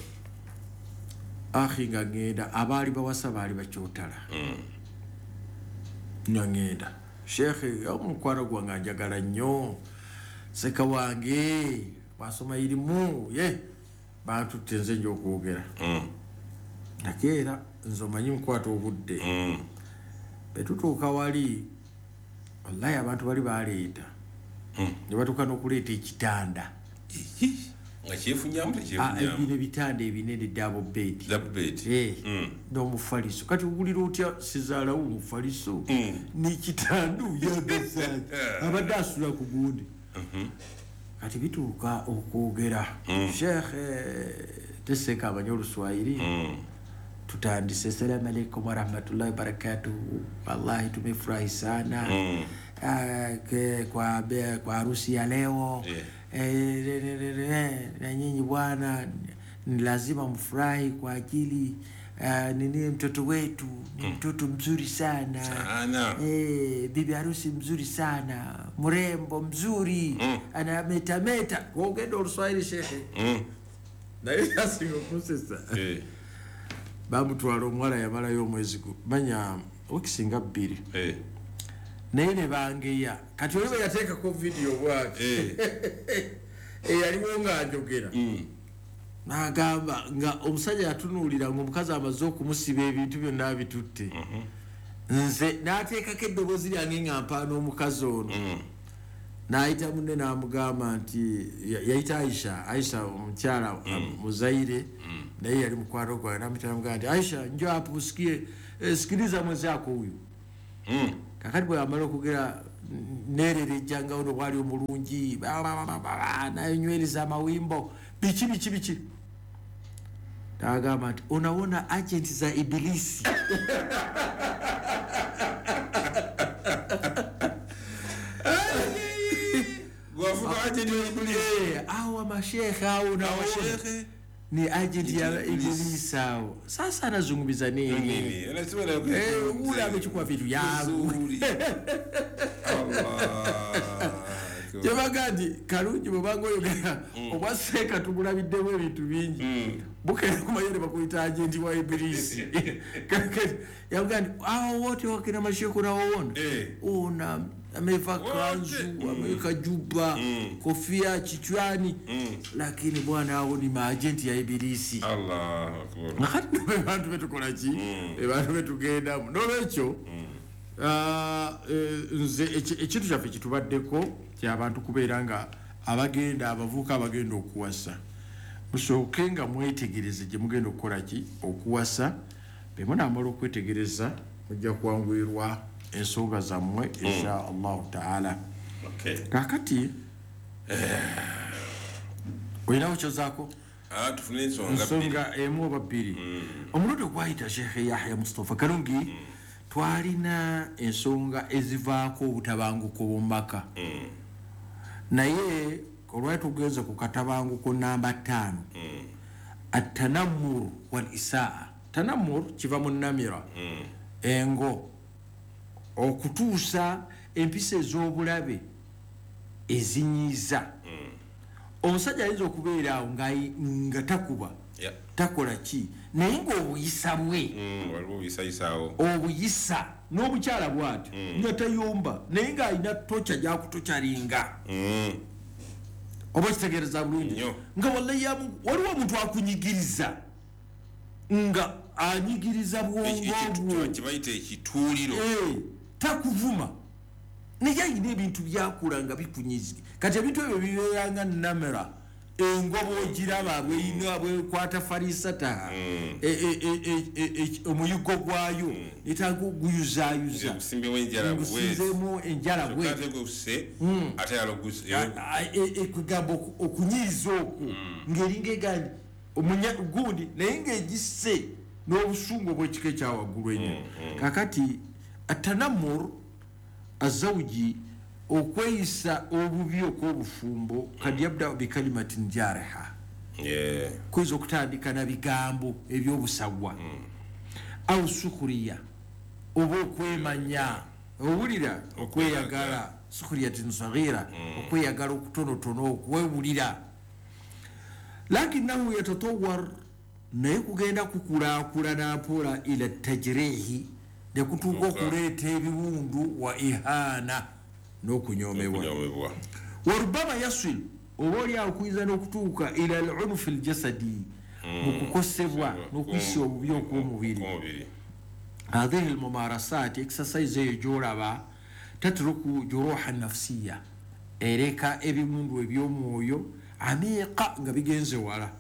Akhi nga ngenda abaali bawasa baali bakyotala. Nga ngenda. Sheikh omukwano gwange njagala nnyo. Seka wange basoma irimu ye bantutte nze nja okwogera. Nakeera nze omanyi nkwata obudde. Bwe tutuuka wali wallahi abantu bali baleeta. Ne batuuka n'okuleeta ekitanda.
Nga kyefunyamu tekyefunyamu.
Bino ebitanda ebinene double bed.
Double bed.
Eh. N'omufaliso. Kati owulira otya sizaalawo omufaliso n'ekitanda oyagazaaki. Abadde asula ku gundi. Kati bituuka okwogera. Sheikh teseeka amanyi Oluswayiri. Tutandise, assalamu alaikum warahmatullahi wabarakatuh. Wallahi tumefurahi sana. uh, kwa kwa harusi ya leo
yeah.
E, na nyinyi bwana ni lazima mfurahi kwa ajili uh, nini mtoto wetu ni mtoto mzuri sana,
sana.
E, bibi harusi mzuri sana, mrembo mzuri mm. anametameta ogenda oluswahili shehe
mm.
naye asinga okusesa
eh.
bamutwala omuwala yamalayo omwezi manya wikisinga bbiri
eh.
naye ne bangeya kati oli bwe yateekako vidiyo bwati eyaliwo nga njogera
mm.
n'agamba nga omusajja yatunuulira ng'omukazi amaze okumusiba ebintu byonna abitutte
mm -hmm.
nze n'ateekako eddoboozi lyange nga mpaana omukazi ono
mm.
n'ayita munne n'amugamba nti yayita Aisha, Aisha omukyala
mm.
muzaire
mm.
naye yali mukwano gwange n'amuyita n'amugamba nti Aisha njoo hapo usikie eh, sikiliza mwenzako huyu
mm.
kakati bwe amala okugera nererejjanga ono bwali omulungi nayonywereza amawimbo biki biki biki n'agamba nti unawona agenti za ibilisi awa mashekhe au naona ni agenti ya ibilisi hao. Sasa anazungumza nini?
Nini? Anasema na
eh, ule amechukua vitu yangu.
Allah.
Jabagandi kalungi bwango yogera obwaseka tubulabiddemu ebintu bingi. Bukera kumayere bakuyita agenti wa ibilisi. Yagandi hao wote wakina mashekhe unaoona. Una amevaa kanzu, ameweka juba,
mm.
kofia kichwani
mm.
lakini bwana hao ni maagenti ya ibilisi.
Allahu akbar.
Nakati abantu betukola ki? Abantu betugenda. Nolwekyo ah nze ekintu kyaffe kitubaddeko ky'abantu kubeera nga abagenda abavuka abagenda okuwasa. Musooke nga mwetegereze gye mugenda okukola ki? Okuwasa. Bwe munaamala okwetegereza mujja kwanguyirwa ensonga zammwe insha Allahu taala.
Okay.
Kakati olinawo kyozaako?
Ah, tufune ensonga bbiri.
Ensonga emu oba bbiri. Omulundi ogwayita Sheikh Yahya Mustafa Kalungi twalina ensonga ezivaako obutabanguko mu maka. Naye olwali tugenze ku katabanguko namba ttaano. At-tanammur wal isaa. Tanammur kiva mu nnamira. Engo okutuusa empisa ez'obulabe ezinyiiza. Omusajja ayinza okubeera awo nga takuba
Yeah.
takola ki naye ng'obuyisa bwe obuyisa n'obukyala bw'atyo nga tayomba naye ng'alina toca gy'akutokyalinga oba kitegeereza bulungi nga wallahi waliwo omuntu akunyigiriza nga anyigiriza bwongo bwo
kibayita ekituuliro
takuvuma naye ayina ebintu byakula nga bikunyiza kati ebintu ebyo bibeera nga namera engobo ogiraba bweyina bwekwata farisata omuyiggo gwayo netanga oguyuzaayuza gusinzemu enjala bwekugamba okunyiiza okwo ng'eringa egandi gundi naye ng'egisse n'obusungu obw'ekika ekyawaggulu ennyo. Kakati atanamur azawuji okweyisa obubi okw'obufumbo kad yabda bikalimatin jariha
yeah.
kuyinza okutandika na bigambo eby'obusagwa au sukuriya oba okwemanya owulira okweyagala sukuriyatin sagira okweyagala okutonotono okwewulira lakinahu yatatawar naye kugenda kukulaakulana mpola ila tajrihi ne kutuuka okuleeta ebiwundu wa ihana n'okunyoomebwa warubama yasil oba oli awo kuyinza n'okutuuka ila al-unfi al-jasadi mu kukosebwa n'okuyisa obubi okw'omubiri. Hadhihi al-mumarasat exercise eyo gy'olaba tatruku juruha nafsiya ereka ebiwundu eby'omwoyo amiqa nga bigenze wala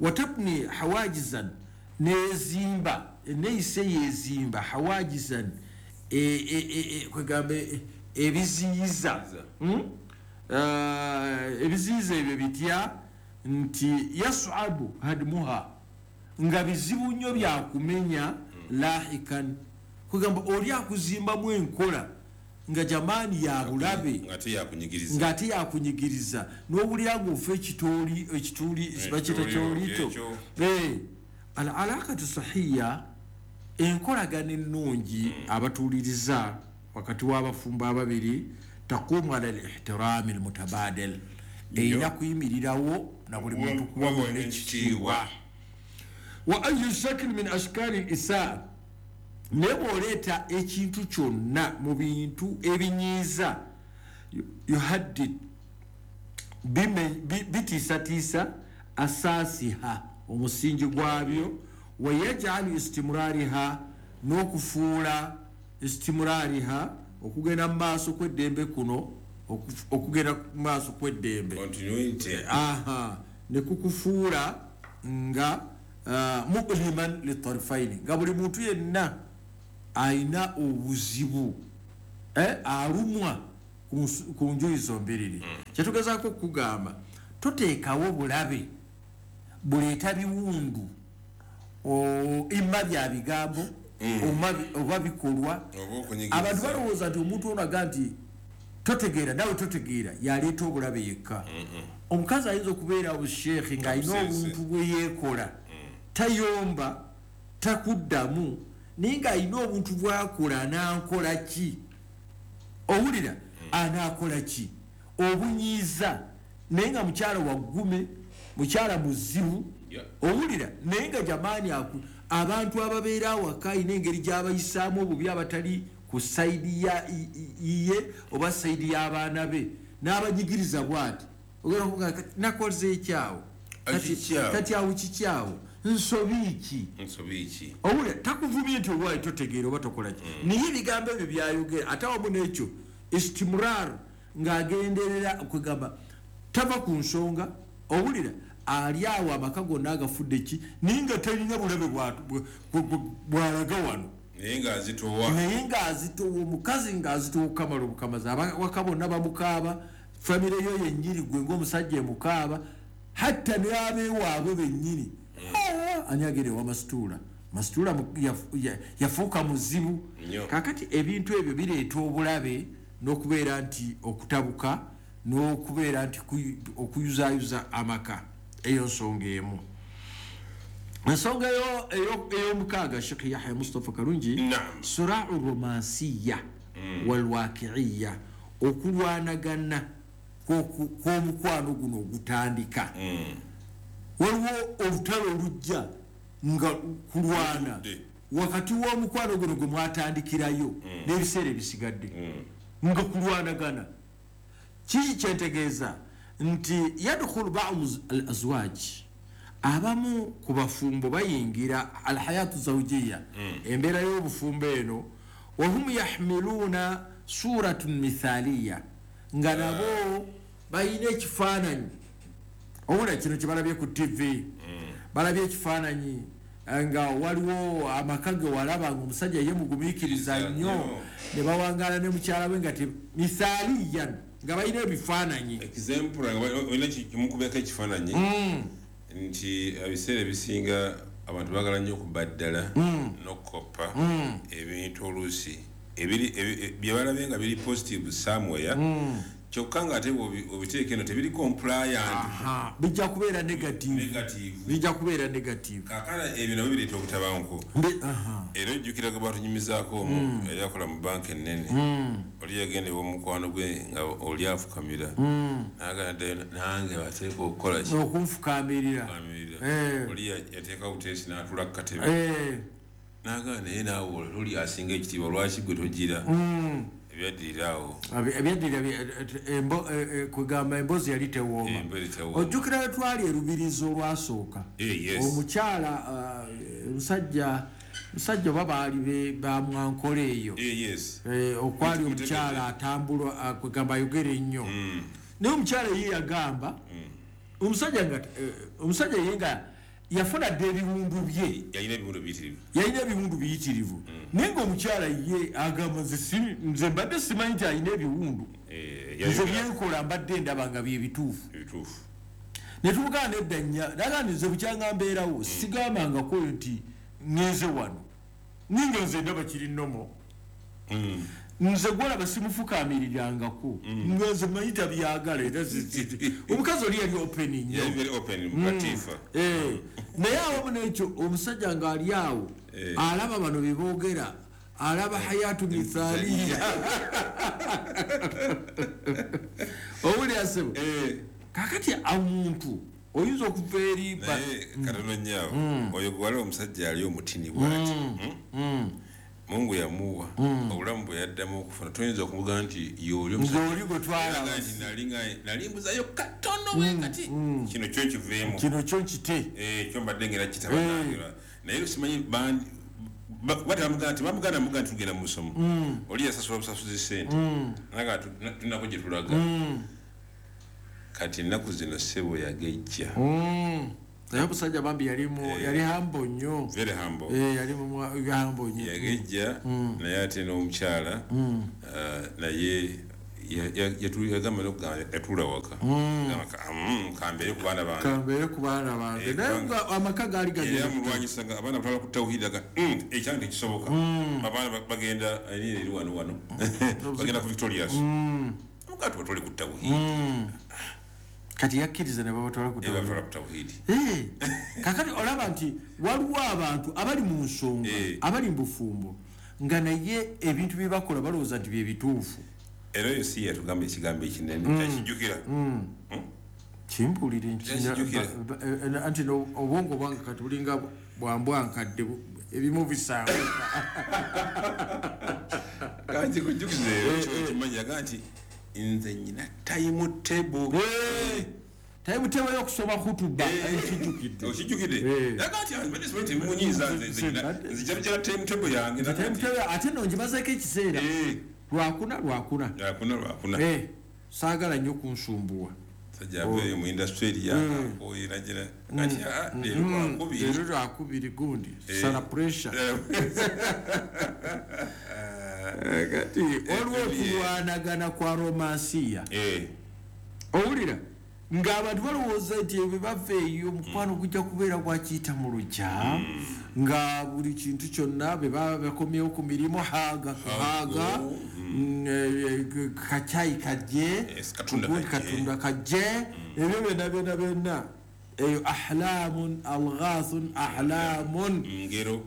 watabni hawajizan nezimba neeyisa yezimba hawajizan kwegamba ebiziyiza ebiziyiza ebyo bitya nti yasuabu hadmuha nga bizibu nnyo byakumenya lahikan kwegamba oli akuzimbamu enkola nga jamani ya bulabe ng'ate yakunyigiriza n'owulira ng'ofa ekitooli ekituuli bakiyita kyolito. Al alaqatu sahiya, enkolagana ennungi abatuuliriza wakati w'abafumbo ababiri, taqumu ala al-ihtirami al-mutabadil, erina kuyimirirawo na buli muntu kuwa munne ekitiibwa. Wa ayu shakl min ashkali al-isaa, naye bw'oleeta ekintu kyonna mu bintu ebinyiiza, yuhaddid, bitiisatiisa asaasiha, omusingi gwabyo, wayajalu istimurariha, n'okufuula istimurariha, okugenda mu maaso kw'eddembe kuno, okugenda mu maaso kw'eddembe aha, ne kukufuula nga mu'liman litarifaini, nga buli muntu yenna ayina obuzibu alumwa ku njuyi zombiriri. Kyetugezaako okugamba, toteekawo bulabe buleeta biwundu imma bya bigambo oba bikolwa. Abantu balowooza nti omuntu ono aga nti totegeera, nawe totegeera, yaleeta obulabe yekka. Omukazi ayinza okubeera obusheekhe ng'alina obuntu bwe yeekola, tayomba, takuddamu, naye ng'alina obuntu bw'akola anaakola ki? Owulira anaakola ki? Obunyiiza, naye nga mukyala waggume, mukyala muzibu, owulira, naye nga jamaani abantu ababeera awaka ayina engeri gy'abayisaamu obubi abatali ku sayidi yiye oba sayidi y'abaana be, n'abanyigiriza bw'ati, ogenda okugamba nakoze ekyawo, kati awo kikyawo, nsobi ki? Owulira takuvumye nti olwayi totegeera oba tokola ki, naye ebigambo ebyo byayogera ate awamu n'ekyo istimurar, ng'agenderera kwegamba tava ku nsonga. Owulira ali awo amaka gonna agafudde ki, naye nga talina bulabe bw'alaga wano,
naye ng'azitowa,
naye ng'azitowa, omukazi ng'azitowa okukamala obukamazi, abawaka bonna bamukaaba, famire yo yennyini gwe ng'omusajja emukaaba, hatta n'abeewaabwe bennyini. Ani agenda ewa Masituula? Masituula yafuuka muzibu. Kaakati ebintu ebyo bireeta obulabe n'okubeera nti okutabuka n'okubeera nti okuyuzaayuza amaka. Eyo nsonga emu. Ensonga ey'omukaaga, Sheikh Yahya Mustafa Kalungi, surau romansiya walwakiiya, okulwanagana kw'omukwano guno ogutandika. Waliwo olutalo olujja nga kulwana wakati w'omukwano guno gwe mwatandikirayo n'ebiseera ebisigadde nga kulwanagana. Kiki kyentegeeza? Nti yadkhulu ba'du al-azwaj, abamu ku bafumbo bayingira alhayatu zawjiya, embeera y'obufumbo eno, wahum yahmiluna suratun mithaliya, nga nabo bayina ekifaananyi. Owulira kino kye balabye ku T V, balabye ekifaananyi nga waliwo amaka ge walaba nga omusajja ye mugumiikiriza nnyo, ne bawangaala ne mukyala we nga mithaliyan, nga balina ebifaananyi.
Example, olina kimukubeko ekifaananyi nti ebiseera ebisinga abantu baagala nnyo okubaddala n'okukoppa ebintu oluusi bye balabye nga biri positive somewhere, kyokka ng'ate obiteeka eno tebiri compliant,
bijja kubeera negative, bijja kubeera negative.
Kaakana ebyo nabyo bireeta obutabanguko. Era ojjukira gwe batunyumizaako omu yali akola mu banka ennene, oli yagenda ew'omukwano gwe nga oli afukamira, n'agamba ddayo nange bateeka okukola ki?
Okunfukamirira.
Oli yateekawo buteesi n'atuula ku katebe, n'agamba naye naawe oli asinga ekitiibwa, lwaki gwe togira? Ebyaddirira awo
ebyaddirira kwegamba emboozi yali tewooma. Ojjukira we twali erubirizi olwasooka, omukyala omusajja musajja oba baali bamwankola eyo, okwali omukyala atambulwa kwegamba ayogera ennyo, naye omukyala ye yagamba omusajja nga omusajja ye nga yafuna dda ebiwundu bye, yalina ebiwundu biyitirivu, naye ng'omukyala ye agamba nze mbadde simanyi nti alina ebiwundu, nze byenkola mbadde ndaba nga bye bituufu. Ne tumugaana nedda nnya, naga nze bukyanga mbeerawo sigambangako nti ngenze wano, ninga nze ndaba kiri nnomo. Nze gwolaba simufukaamirirangako. Nze manyi tabyagala era omukazi oli yali open nnyo.
Yali very open, Latifa.
Eh, naye awamu n'ekyo omusajja ng'ali awo alaba bano bye boogera, alaba hayatu mithaliya. Owulira ssebo? Kaakati omuntu oyinza okuva eri
naye katono nnyo awo oyo gwe waliwo omusajja ali omutini bw'ati. Mungu yamuwa obulamu bwe yaddamu okufuna toyinza okumugamba nti y'oli
omusajja gwe twalaba
nti nali mbuzayo katono bwe kati kino kyo nkiveemu
kino kyo nkite
kyo mbadde ngera kitabanangira naye simanyi bandi batamugamba nti bamuganda mugamba nti tugenda mu musomo oli yasasula obusasuzi ssente naga tunako gye tulaga kati ennaku zino ssebo yagejja.
Naye omusajja bambi yali yali humble nnyo.
Very humble.
Eh yali humble nnyo.
Yagejja naye ate n'omukyala naye yagamba n'okugamba yatuula waka. Kambeere ku baana bange.
Kambeere ku baana bange. Naye nga amaka gaali gagenda.
Era mulwanyisa nga abaana batwala ku tawhidi aga ekyange tekisoboka. Abaana bagenda eri wano wano. Bagenda ku Victorious. Mugati batwale ku tawhidi.
Kati yakkiriza ne babatwala ku
tawhidi.
Eh, kakati olaba nti waliwo abantu abali mu nsonga, abali mu bufumbo nga naye ebintu bye bakola balowooza nti bye bituufu.
Era oyo si yatugamba ekigambo ekinene kyakijjukira.
Kimpulire nti anti obwongo bwange kati bulinga bwambwankadde ebimu bisanguka.
Kanti kujjukiza ekyo kimanyi yaga nti nze nyina time table.
Time table y'okusoma hutuba ekijjukidde.
Okijjukidde? Yaga nti mbadde simanyi tebimunyiiza nze nzija bijja time table yange.
Time table ate nno ngimazeeko ekiseera. Lwakuna lwakuna.
Lwakuna lwakuna.
Eh, saagala nnyo kunsumbuwa.
Sajja aveeyo mu industry yange oyo nagira kati leero lwakubiri.
Leero lwakubiri gundi. Sala pressure. Kati waliwo okulwanagana kwa romansiya. Owulira ng'abantu balowooza nti ebyo bava eyo omukwano gujja kubeera gwakiyita mu lujja nga buli kintu kyonna bwe baba bakomyewo ku mirimu haaga haaga kacyayi kajje katunda kajje ebyo byonna byonna byonna eyo ahlamun alghathun ahlamun
ngero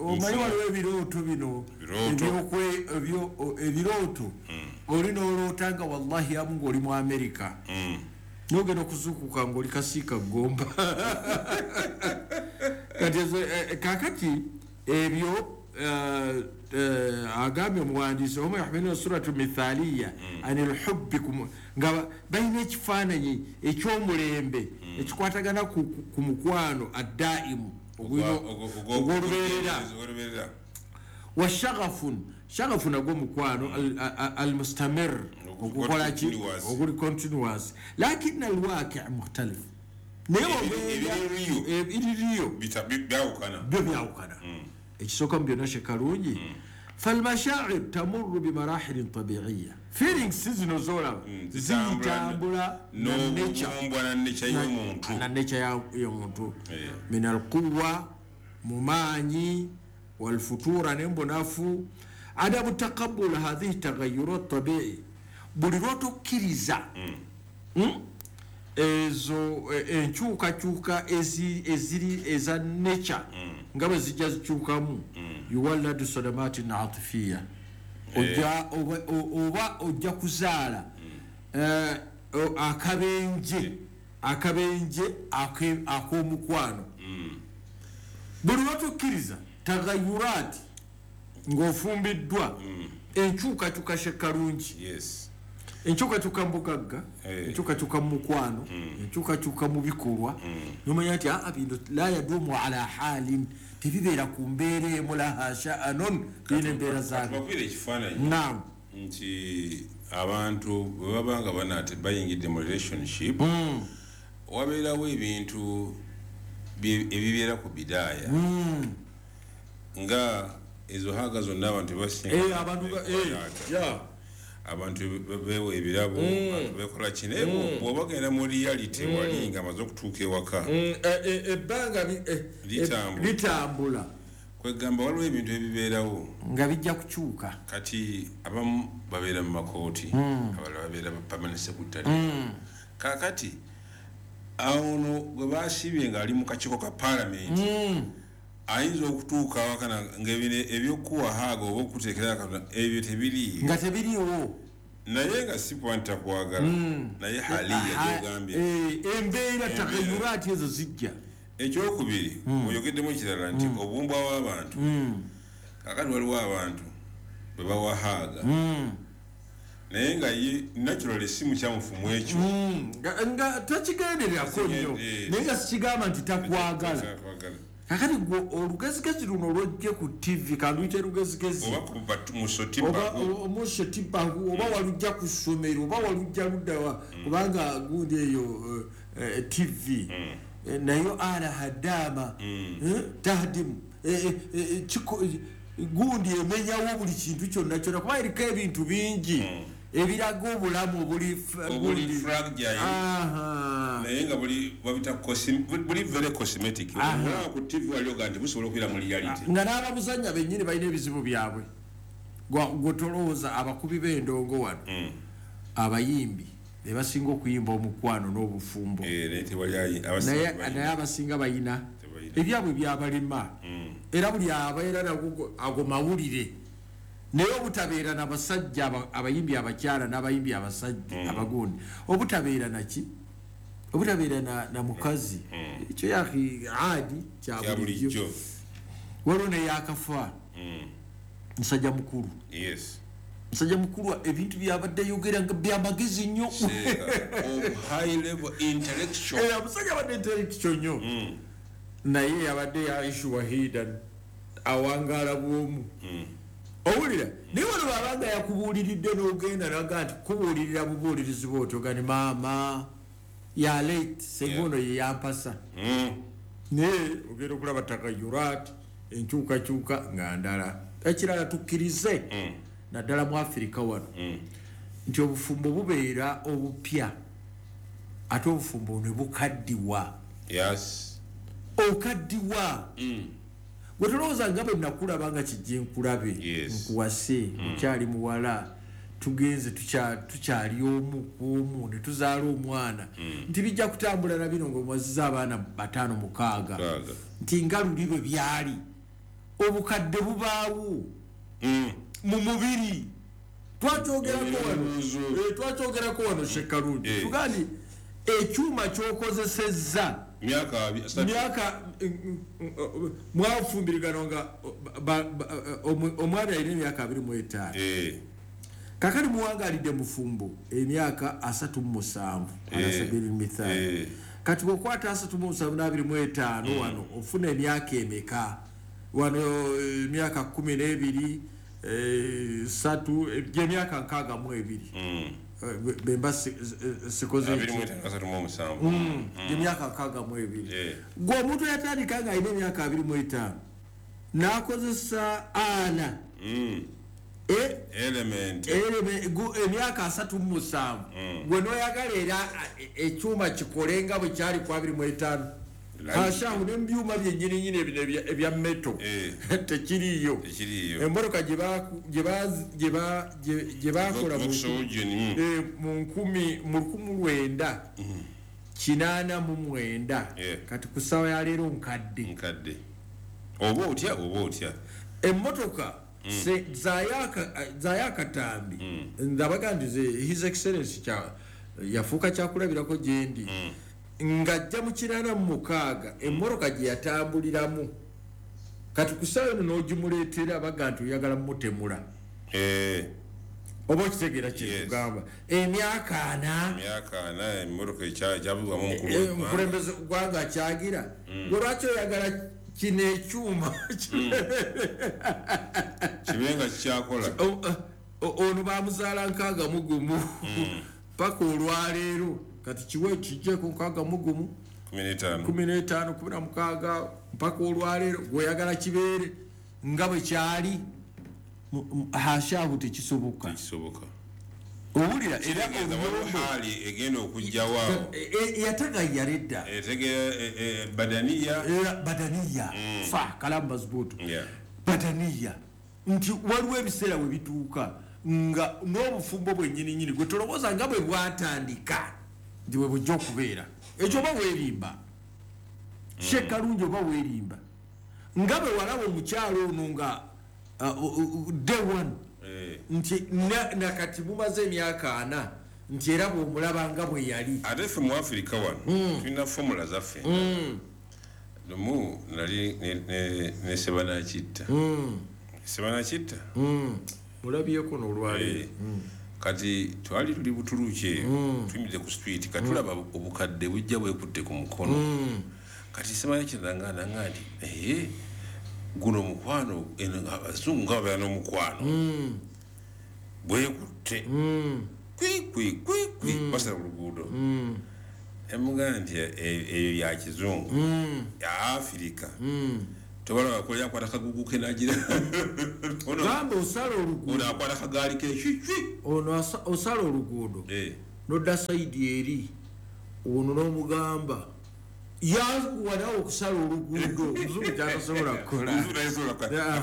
omanyi waliwo ebirooto bino ebirooto oli n'oloota nga wallahi amu ng'oli mu Amerika n'ogenda okuzuukuka ng'oli kasiika ggomba. Kati kaakati ebyo agambye omuwandiisi omu yahmiluna suratu mithaliya ani lhubbi nga balina ekifaananyi eky'omulembe ekikwatagana ku mukwano addaimu ogw'olubeerera wa shaghafun shaghafu nagwo mukwano almustamir ogukola ki oguli continuous lakini alwaqi' mukhtalif naye ebiriyo
byawukana
byo byawukana ekisooka mu byonna shekalungi falmashaa'ir tamurru bimarahilin tabi'iyya feelings zino zolaba zitambula
n'obubumbwa na nature y'omuntu
na nature y'omuntu min alquwa mu maanyi والفتور n'embonafu adamu taqabbul hadhihi taghayyurat tabi'i buli lw'otokkiriza ezo enkyukakyuka eziri eza nature nga bwe zijja zikyukamu yuwalladu sadamatin atifiya ojja oba ojja kuzaala akabenje akabenje ak'omukwano buli lw'otokkiriza tagayurati ng'ofumbiddwa enkyukakyuka shekalungi enkyukakyuka mu bugagga enkyukakyuka mu mukwano enkyukakyuka mu bikolwa nomanya nti aa bino la yadumu ala halin tebibeera ku mbeera emu laha sha'anun birina embeera zaabyo.
Tubabwire ekifaananyi
naam
nti abantu bwe baba nga banaate bayingidde mu relationship wabeerawo ebintu ebibeera ku bidaaya nga ezo haga zonna abantu basinga abantu beewa ebirabo abantu bekola kino bw'oba ogenda mu reality wali nga amaze okutuuka ewaka
ebbanga litambula
Kwegamba waliwo ebintu ebibeerawo
nga bijja kukyuka.
Kati abamu babeera mu makooti, abalala babeera permanent secretary. Kaakati ono gwe basibye ng'ali mu kakiiko ka paalamenti ayinza okutuuka awakana ng'ebino ebyokuwa haaga oba okuteekera Katonda ebyo tebiriiyo,
nga tebiriiwo,
naye nga si kuba nti takwagala, naye haliya gy'ogambye
embeera takayuraati ezo zijja.
Ekyokubiri oyogeddemu ekirala nti obumbwa w'abantu, kaakati waliwo abantu bwe bawa haaga naye nga ye naturally si mukyamufu mu ekyo,
nga takigendererako nnyo, naye nga sikigamba nti takwagala. Kakati gwe olugezigezi luno lwojje ku T V, kanduyite lugezigezi
oba
musotibagu, oba walujja ku ssomero, oba walujja luddawa, kubanga gundi eyo T V nayo ala hadama tahdimu gundi emenyawo buli kintu kyonna kyonna, kuba eriko ebintu bingi ebiraga obulamu obuli
fragile, naye nga buli babita buli very cosmetic. Olaba ku T V waliwo nti busobola okubeera mu reality,
nga n'ababuzannya bennyini balina ebizibu byabwe. Gwe tolowooza abakubi b'endongo wano abayimbi be basinga okuyimba omukwano n'obufumbo, naye abasinga bayina ebyabwe byabalema, era buli abeera nago ago mawulire. Naye obutabeera n'abasajja abayimbi abakyala n'abayimbi abasajja abagundi, obutabeera naki, obutabeera na mukazi, ekyo yaki adi kya bulijjo. Waliwo neyakafa musajja mukulu, musajja mukulu ebintu byabadde yogera nga byamagezi nnyo, musajja abadde intellectual nnyo, naye yabadde yaishu wahidan awangaala bwomu. Owulira naye wano babanga yakubuuliridde n'ogenda naga nti kubuulirira bubuulirizi bwotyo gani maama ya late senga ono ye yampasa, naye ogenda okulaba takayurat enkyukakyuka nga ndala. Ekirala tukkirize naddala mu Afirika wano nti obufumbo bubeera obupya ate obufumbo ne bukaddiwa. Okaddiwa gwe tolowooza nga bwe nakulaba nga kijje nkulabe nkuwase okyali muwala, tugenze tukyali omu ku omu ne tuzaala omwana, nti bijja kutambula na bino ng'omwazizza abaana bataano mukaaga, nti nga luli bwe byali. Obukadde bubaawo mu mubiri. Twakyogerako wano, twakyogerako wano Shekalungi, tugandi ekyuma ky'okozesezza myaka mwafumbirigano nga omwami alina emyaka abiri mu etaano, kakati muwangaalidde mufumbo emyaka asatu mu musanvu alasabiri mithaali. Kati bw'okwata asatu mu musanvu n'abiri mu etaano wano ofuna emyaka emeka? Wano emyaka kkumi n'ebiri satu gy'emyaka nkaaga mu ebiri bemba sikoze emyaka nkaaga mu ebiri. Gwe omuntu yatandika nga alina emyaka abiri mu etaano n'akozesa ana emyaka asatu mu musanvu, gwe n'oyagala era ekyuma kikole nga bwe kyali ku abiri mu etaano. Hashahu ne mubyuma byennyini nyini bino ebya meto tekiriiyo. Emmotoka gye bakola mu nkumi mu lukumi lwenda kinaana mu mwenda, kati ku ssaawa ya leero nkadde.
Oba otya oba otya
emmotoka zayo akatambi ndabaga nti His Excellency yafuuka kyakulabirako gye ndi, ng'ajja mu kinaana mu mukaaga emmotoka gye yatambuliramu, kati ku ssaawa eno n'ogimuleetera baga nti oyagala mmutemula. Oba okitegeera kye tugamba emyaka ana omukulembeze gwanga akyagira, gwe lwaki oyagala kino ekyuma
kibe nga kikyakola?
Ono bamuzaala nkaaga mu gumu paka olwaleero, kati kiwe kijjeko nkaaga mu gumu kumi n'etaano kumi na mukaaga mpaka olwaleero, gw'oyagala kibeere nga bwe kyali. Hashahu tekisoboka. Owulira era
Kitegeeza waliwo haali egenda okujjawo awo.
Yatagayyala edda.
Etegeera e- e- badaniya.
Era badaniya fa kalamu mazibutu.
Yeah.
Badaniya nti waliwo ebiseera we bituuka nga n'obufumbo bwennyininyini gwe tolowooza nga bwe bwatandika nti bwe bujja okubeera. Ekyo oba weerimba, Shekalungi, oba weerimba nga bwe walaba omukyalo ono nga uh, uh, uh, day one
Eh.
nti na- nakati mumaze emyaka ana nti era bw'omulaba nga bwe yali.
Ate ffe mu Afirika wano tulina formula zaffe. Lumu nali ne- ne- ne Sebanakitta, Sebanakitta.
Mulabyeko n'olwaleero.
Eh, kati twali tuli Butuluki eyo, tuyimiridde ku street, kati tulaba obukadde bujja bwekutte ku mukono. Kati Sebanakitta nanga nanga nti ee, guno omukwano eno abazungu nga babeera n'omukwano bwekutte kwi kwi kwi kwi, basala ku luguudo. Emugamba nti e- eyo ya kizungu, ya Afirika tobalaba koli akwata kagugu ke nagira.
Gamba osala oluguudo.
Ono akwata kagaali ke kiki.
Ono asa- osala oluguudo
Eh.
nodda saidi eri, ono n'omugamba yanguwa nawe okusala oluguudo, omuzungu kyatasobola kukola.
Omuzungu tasobola kukola.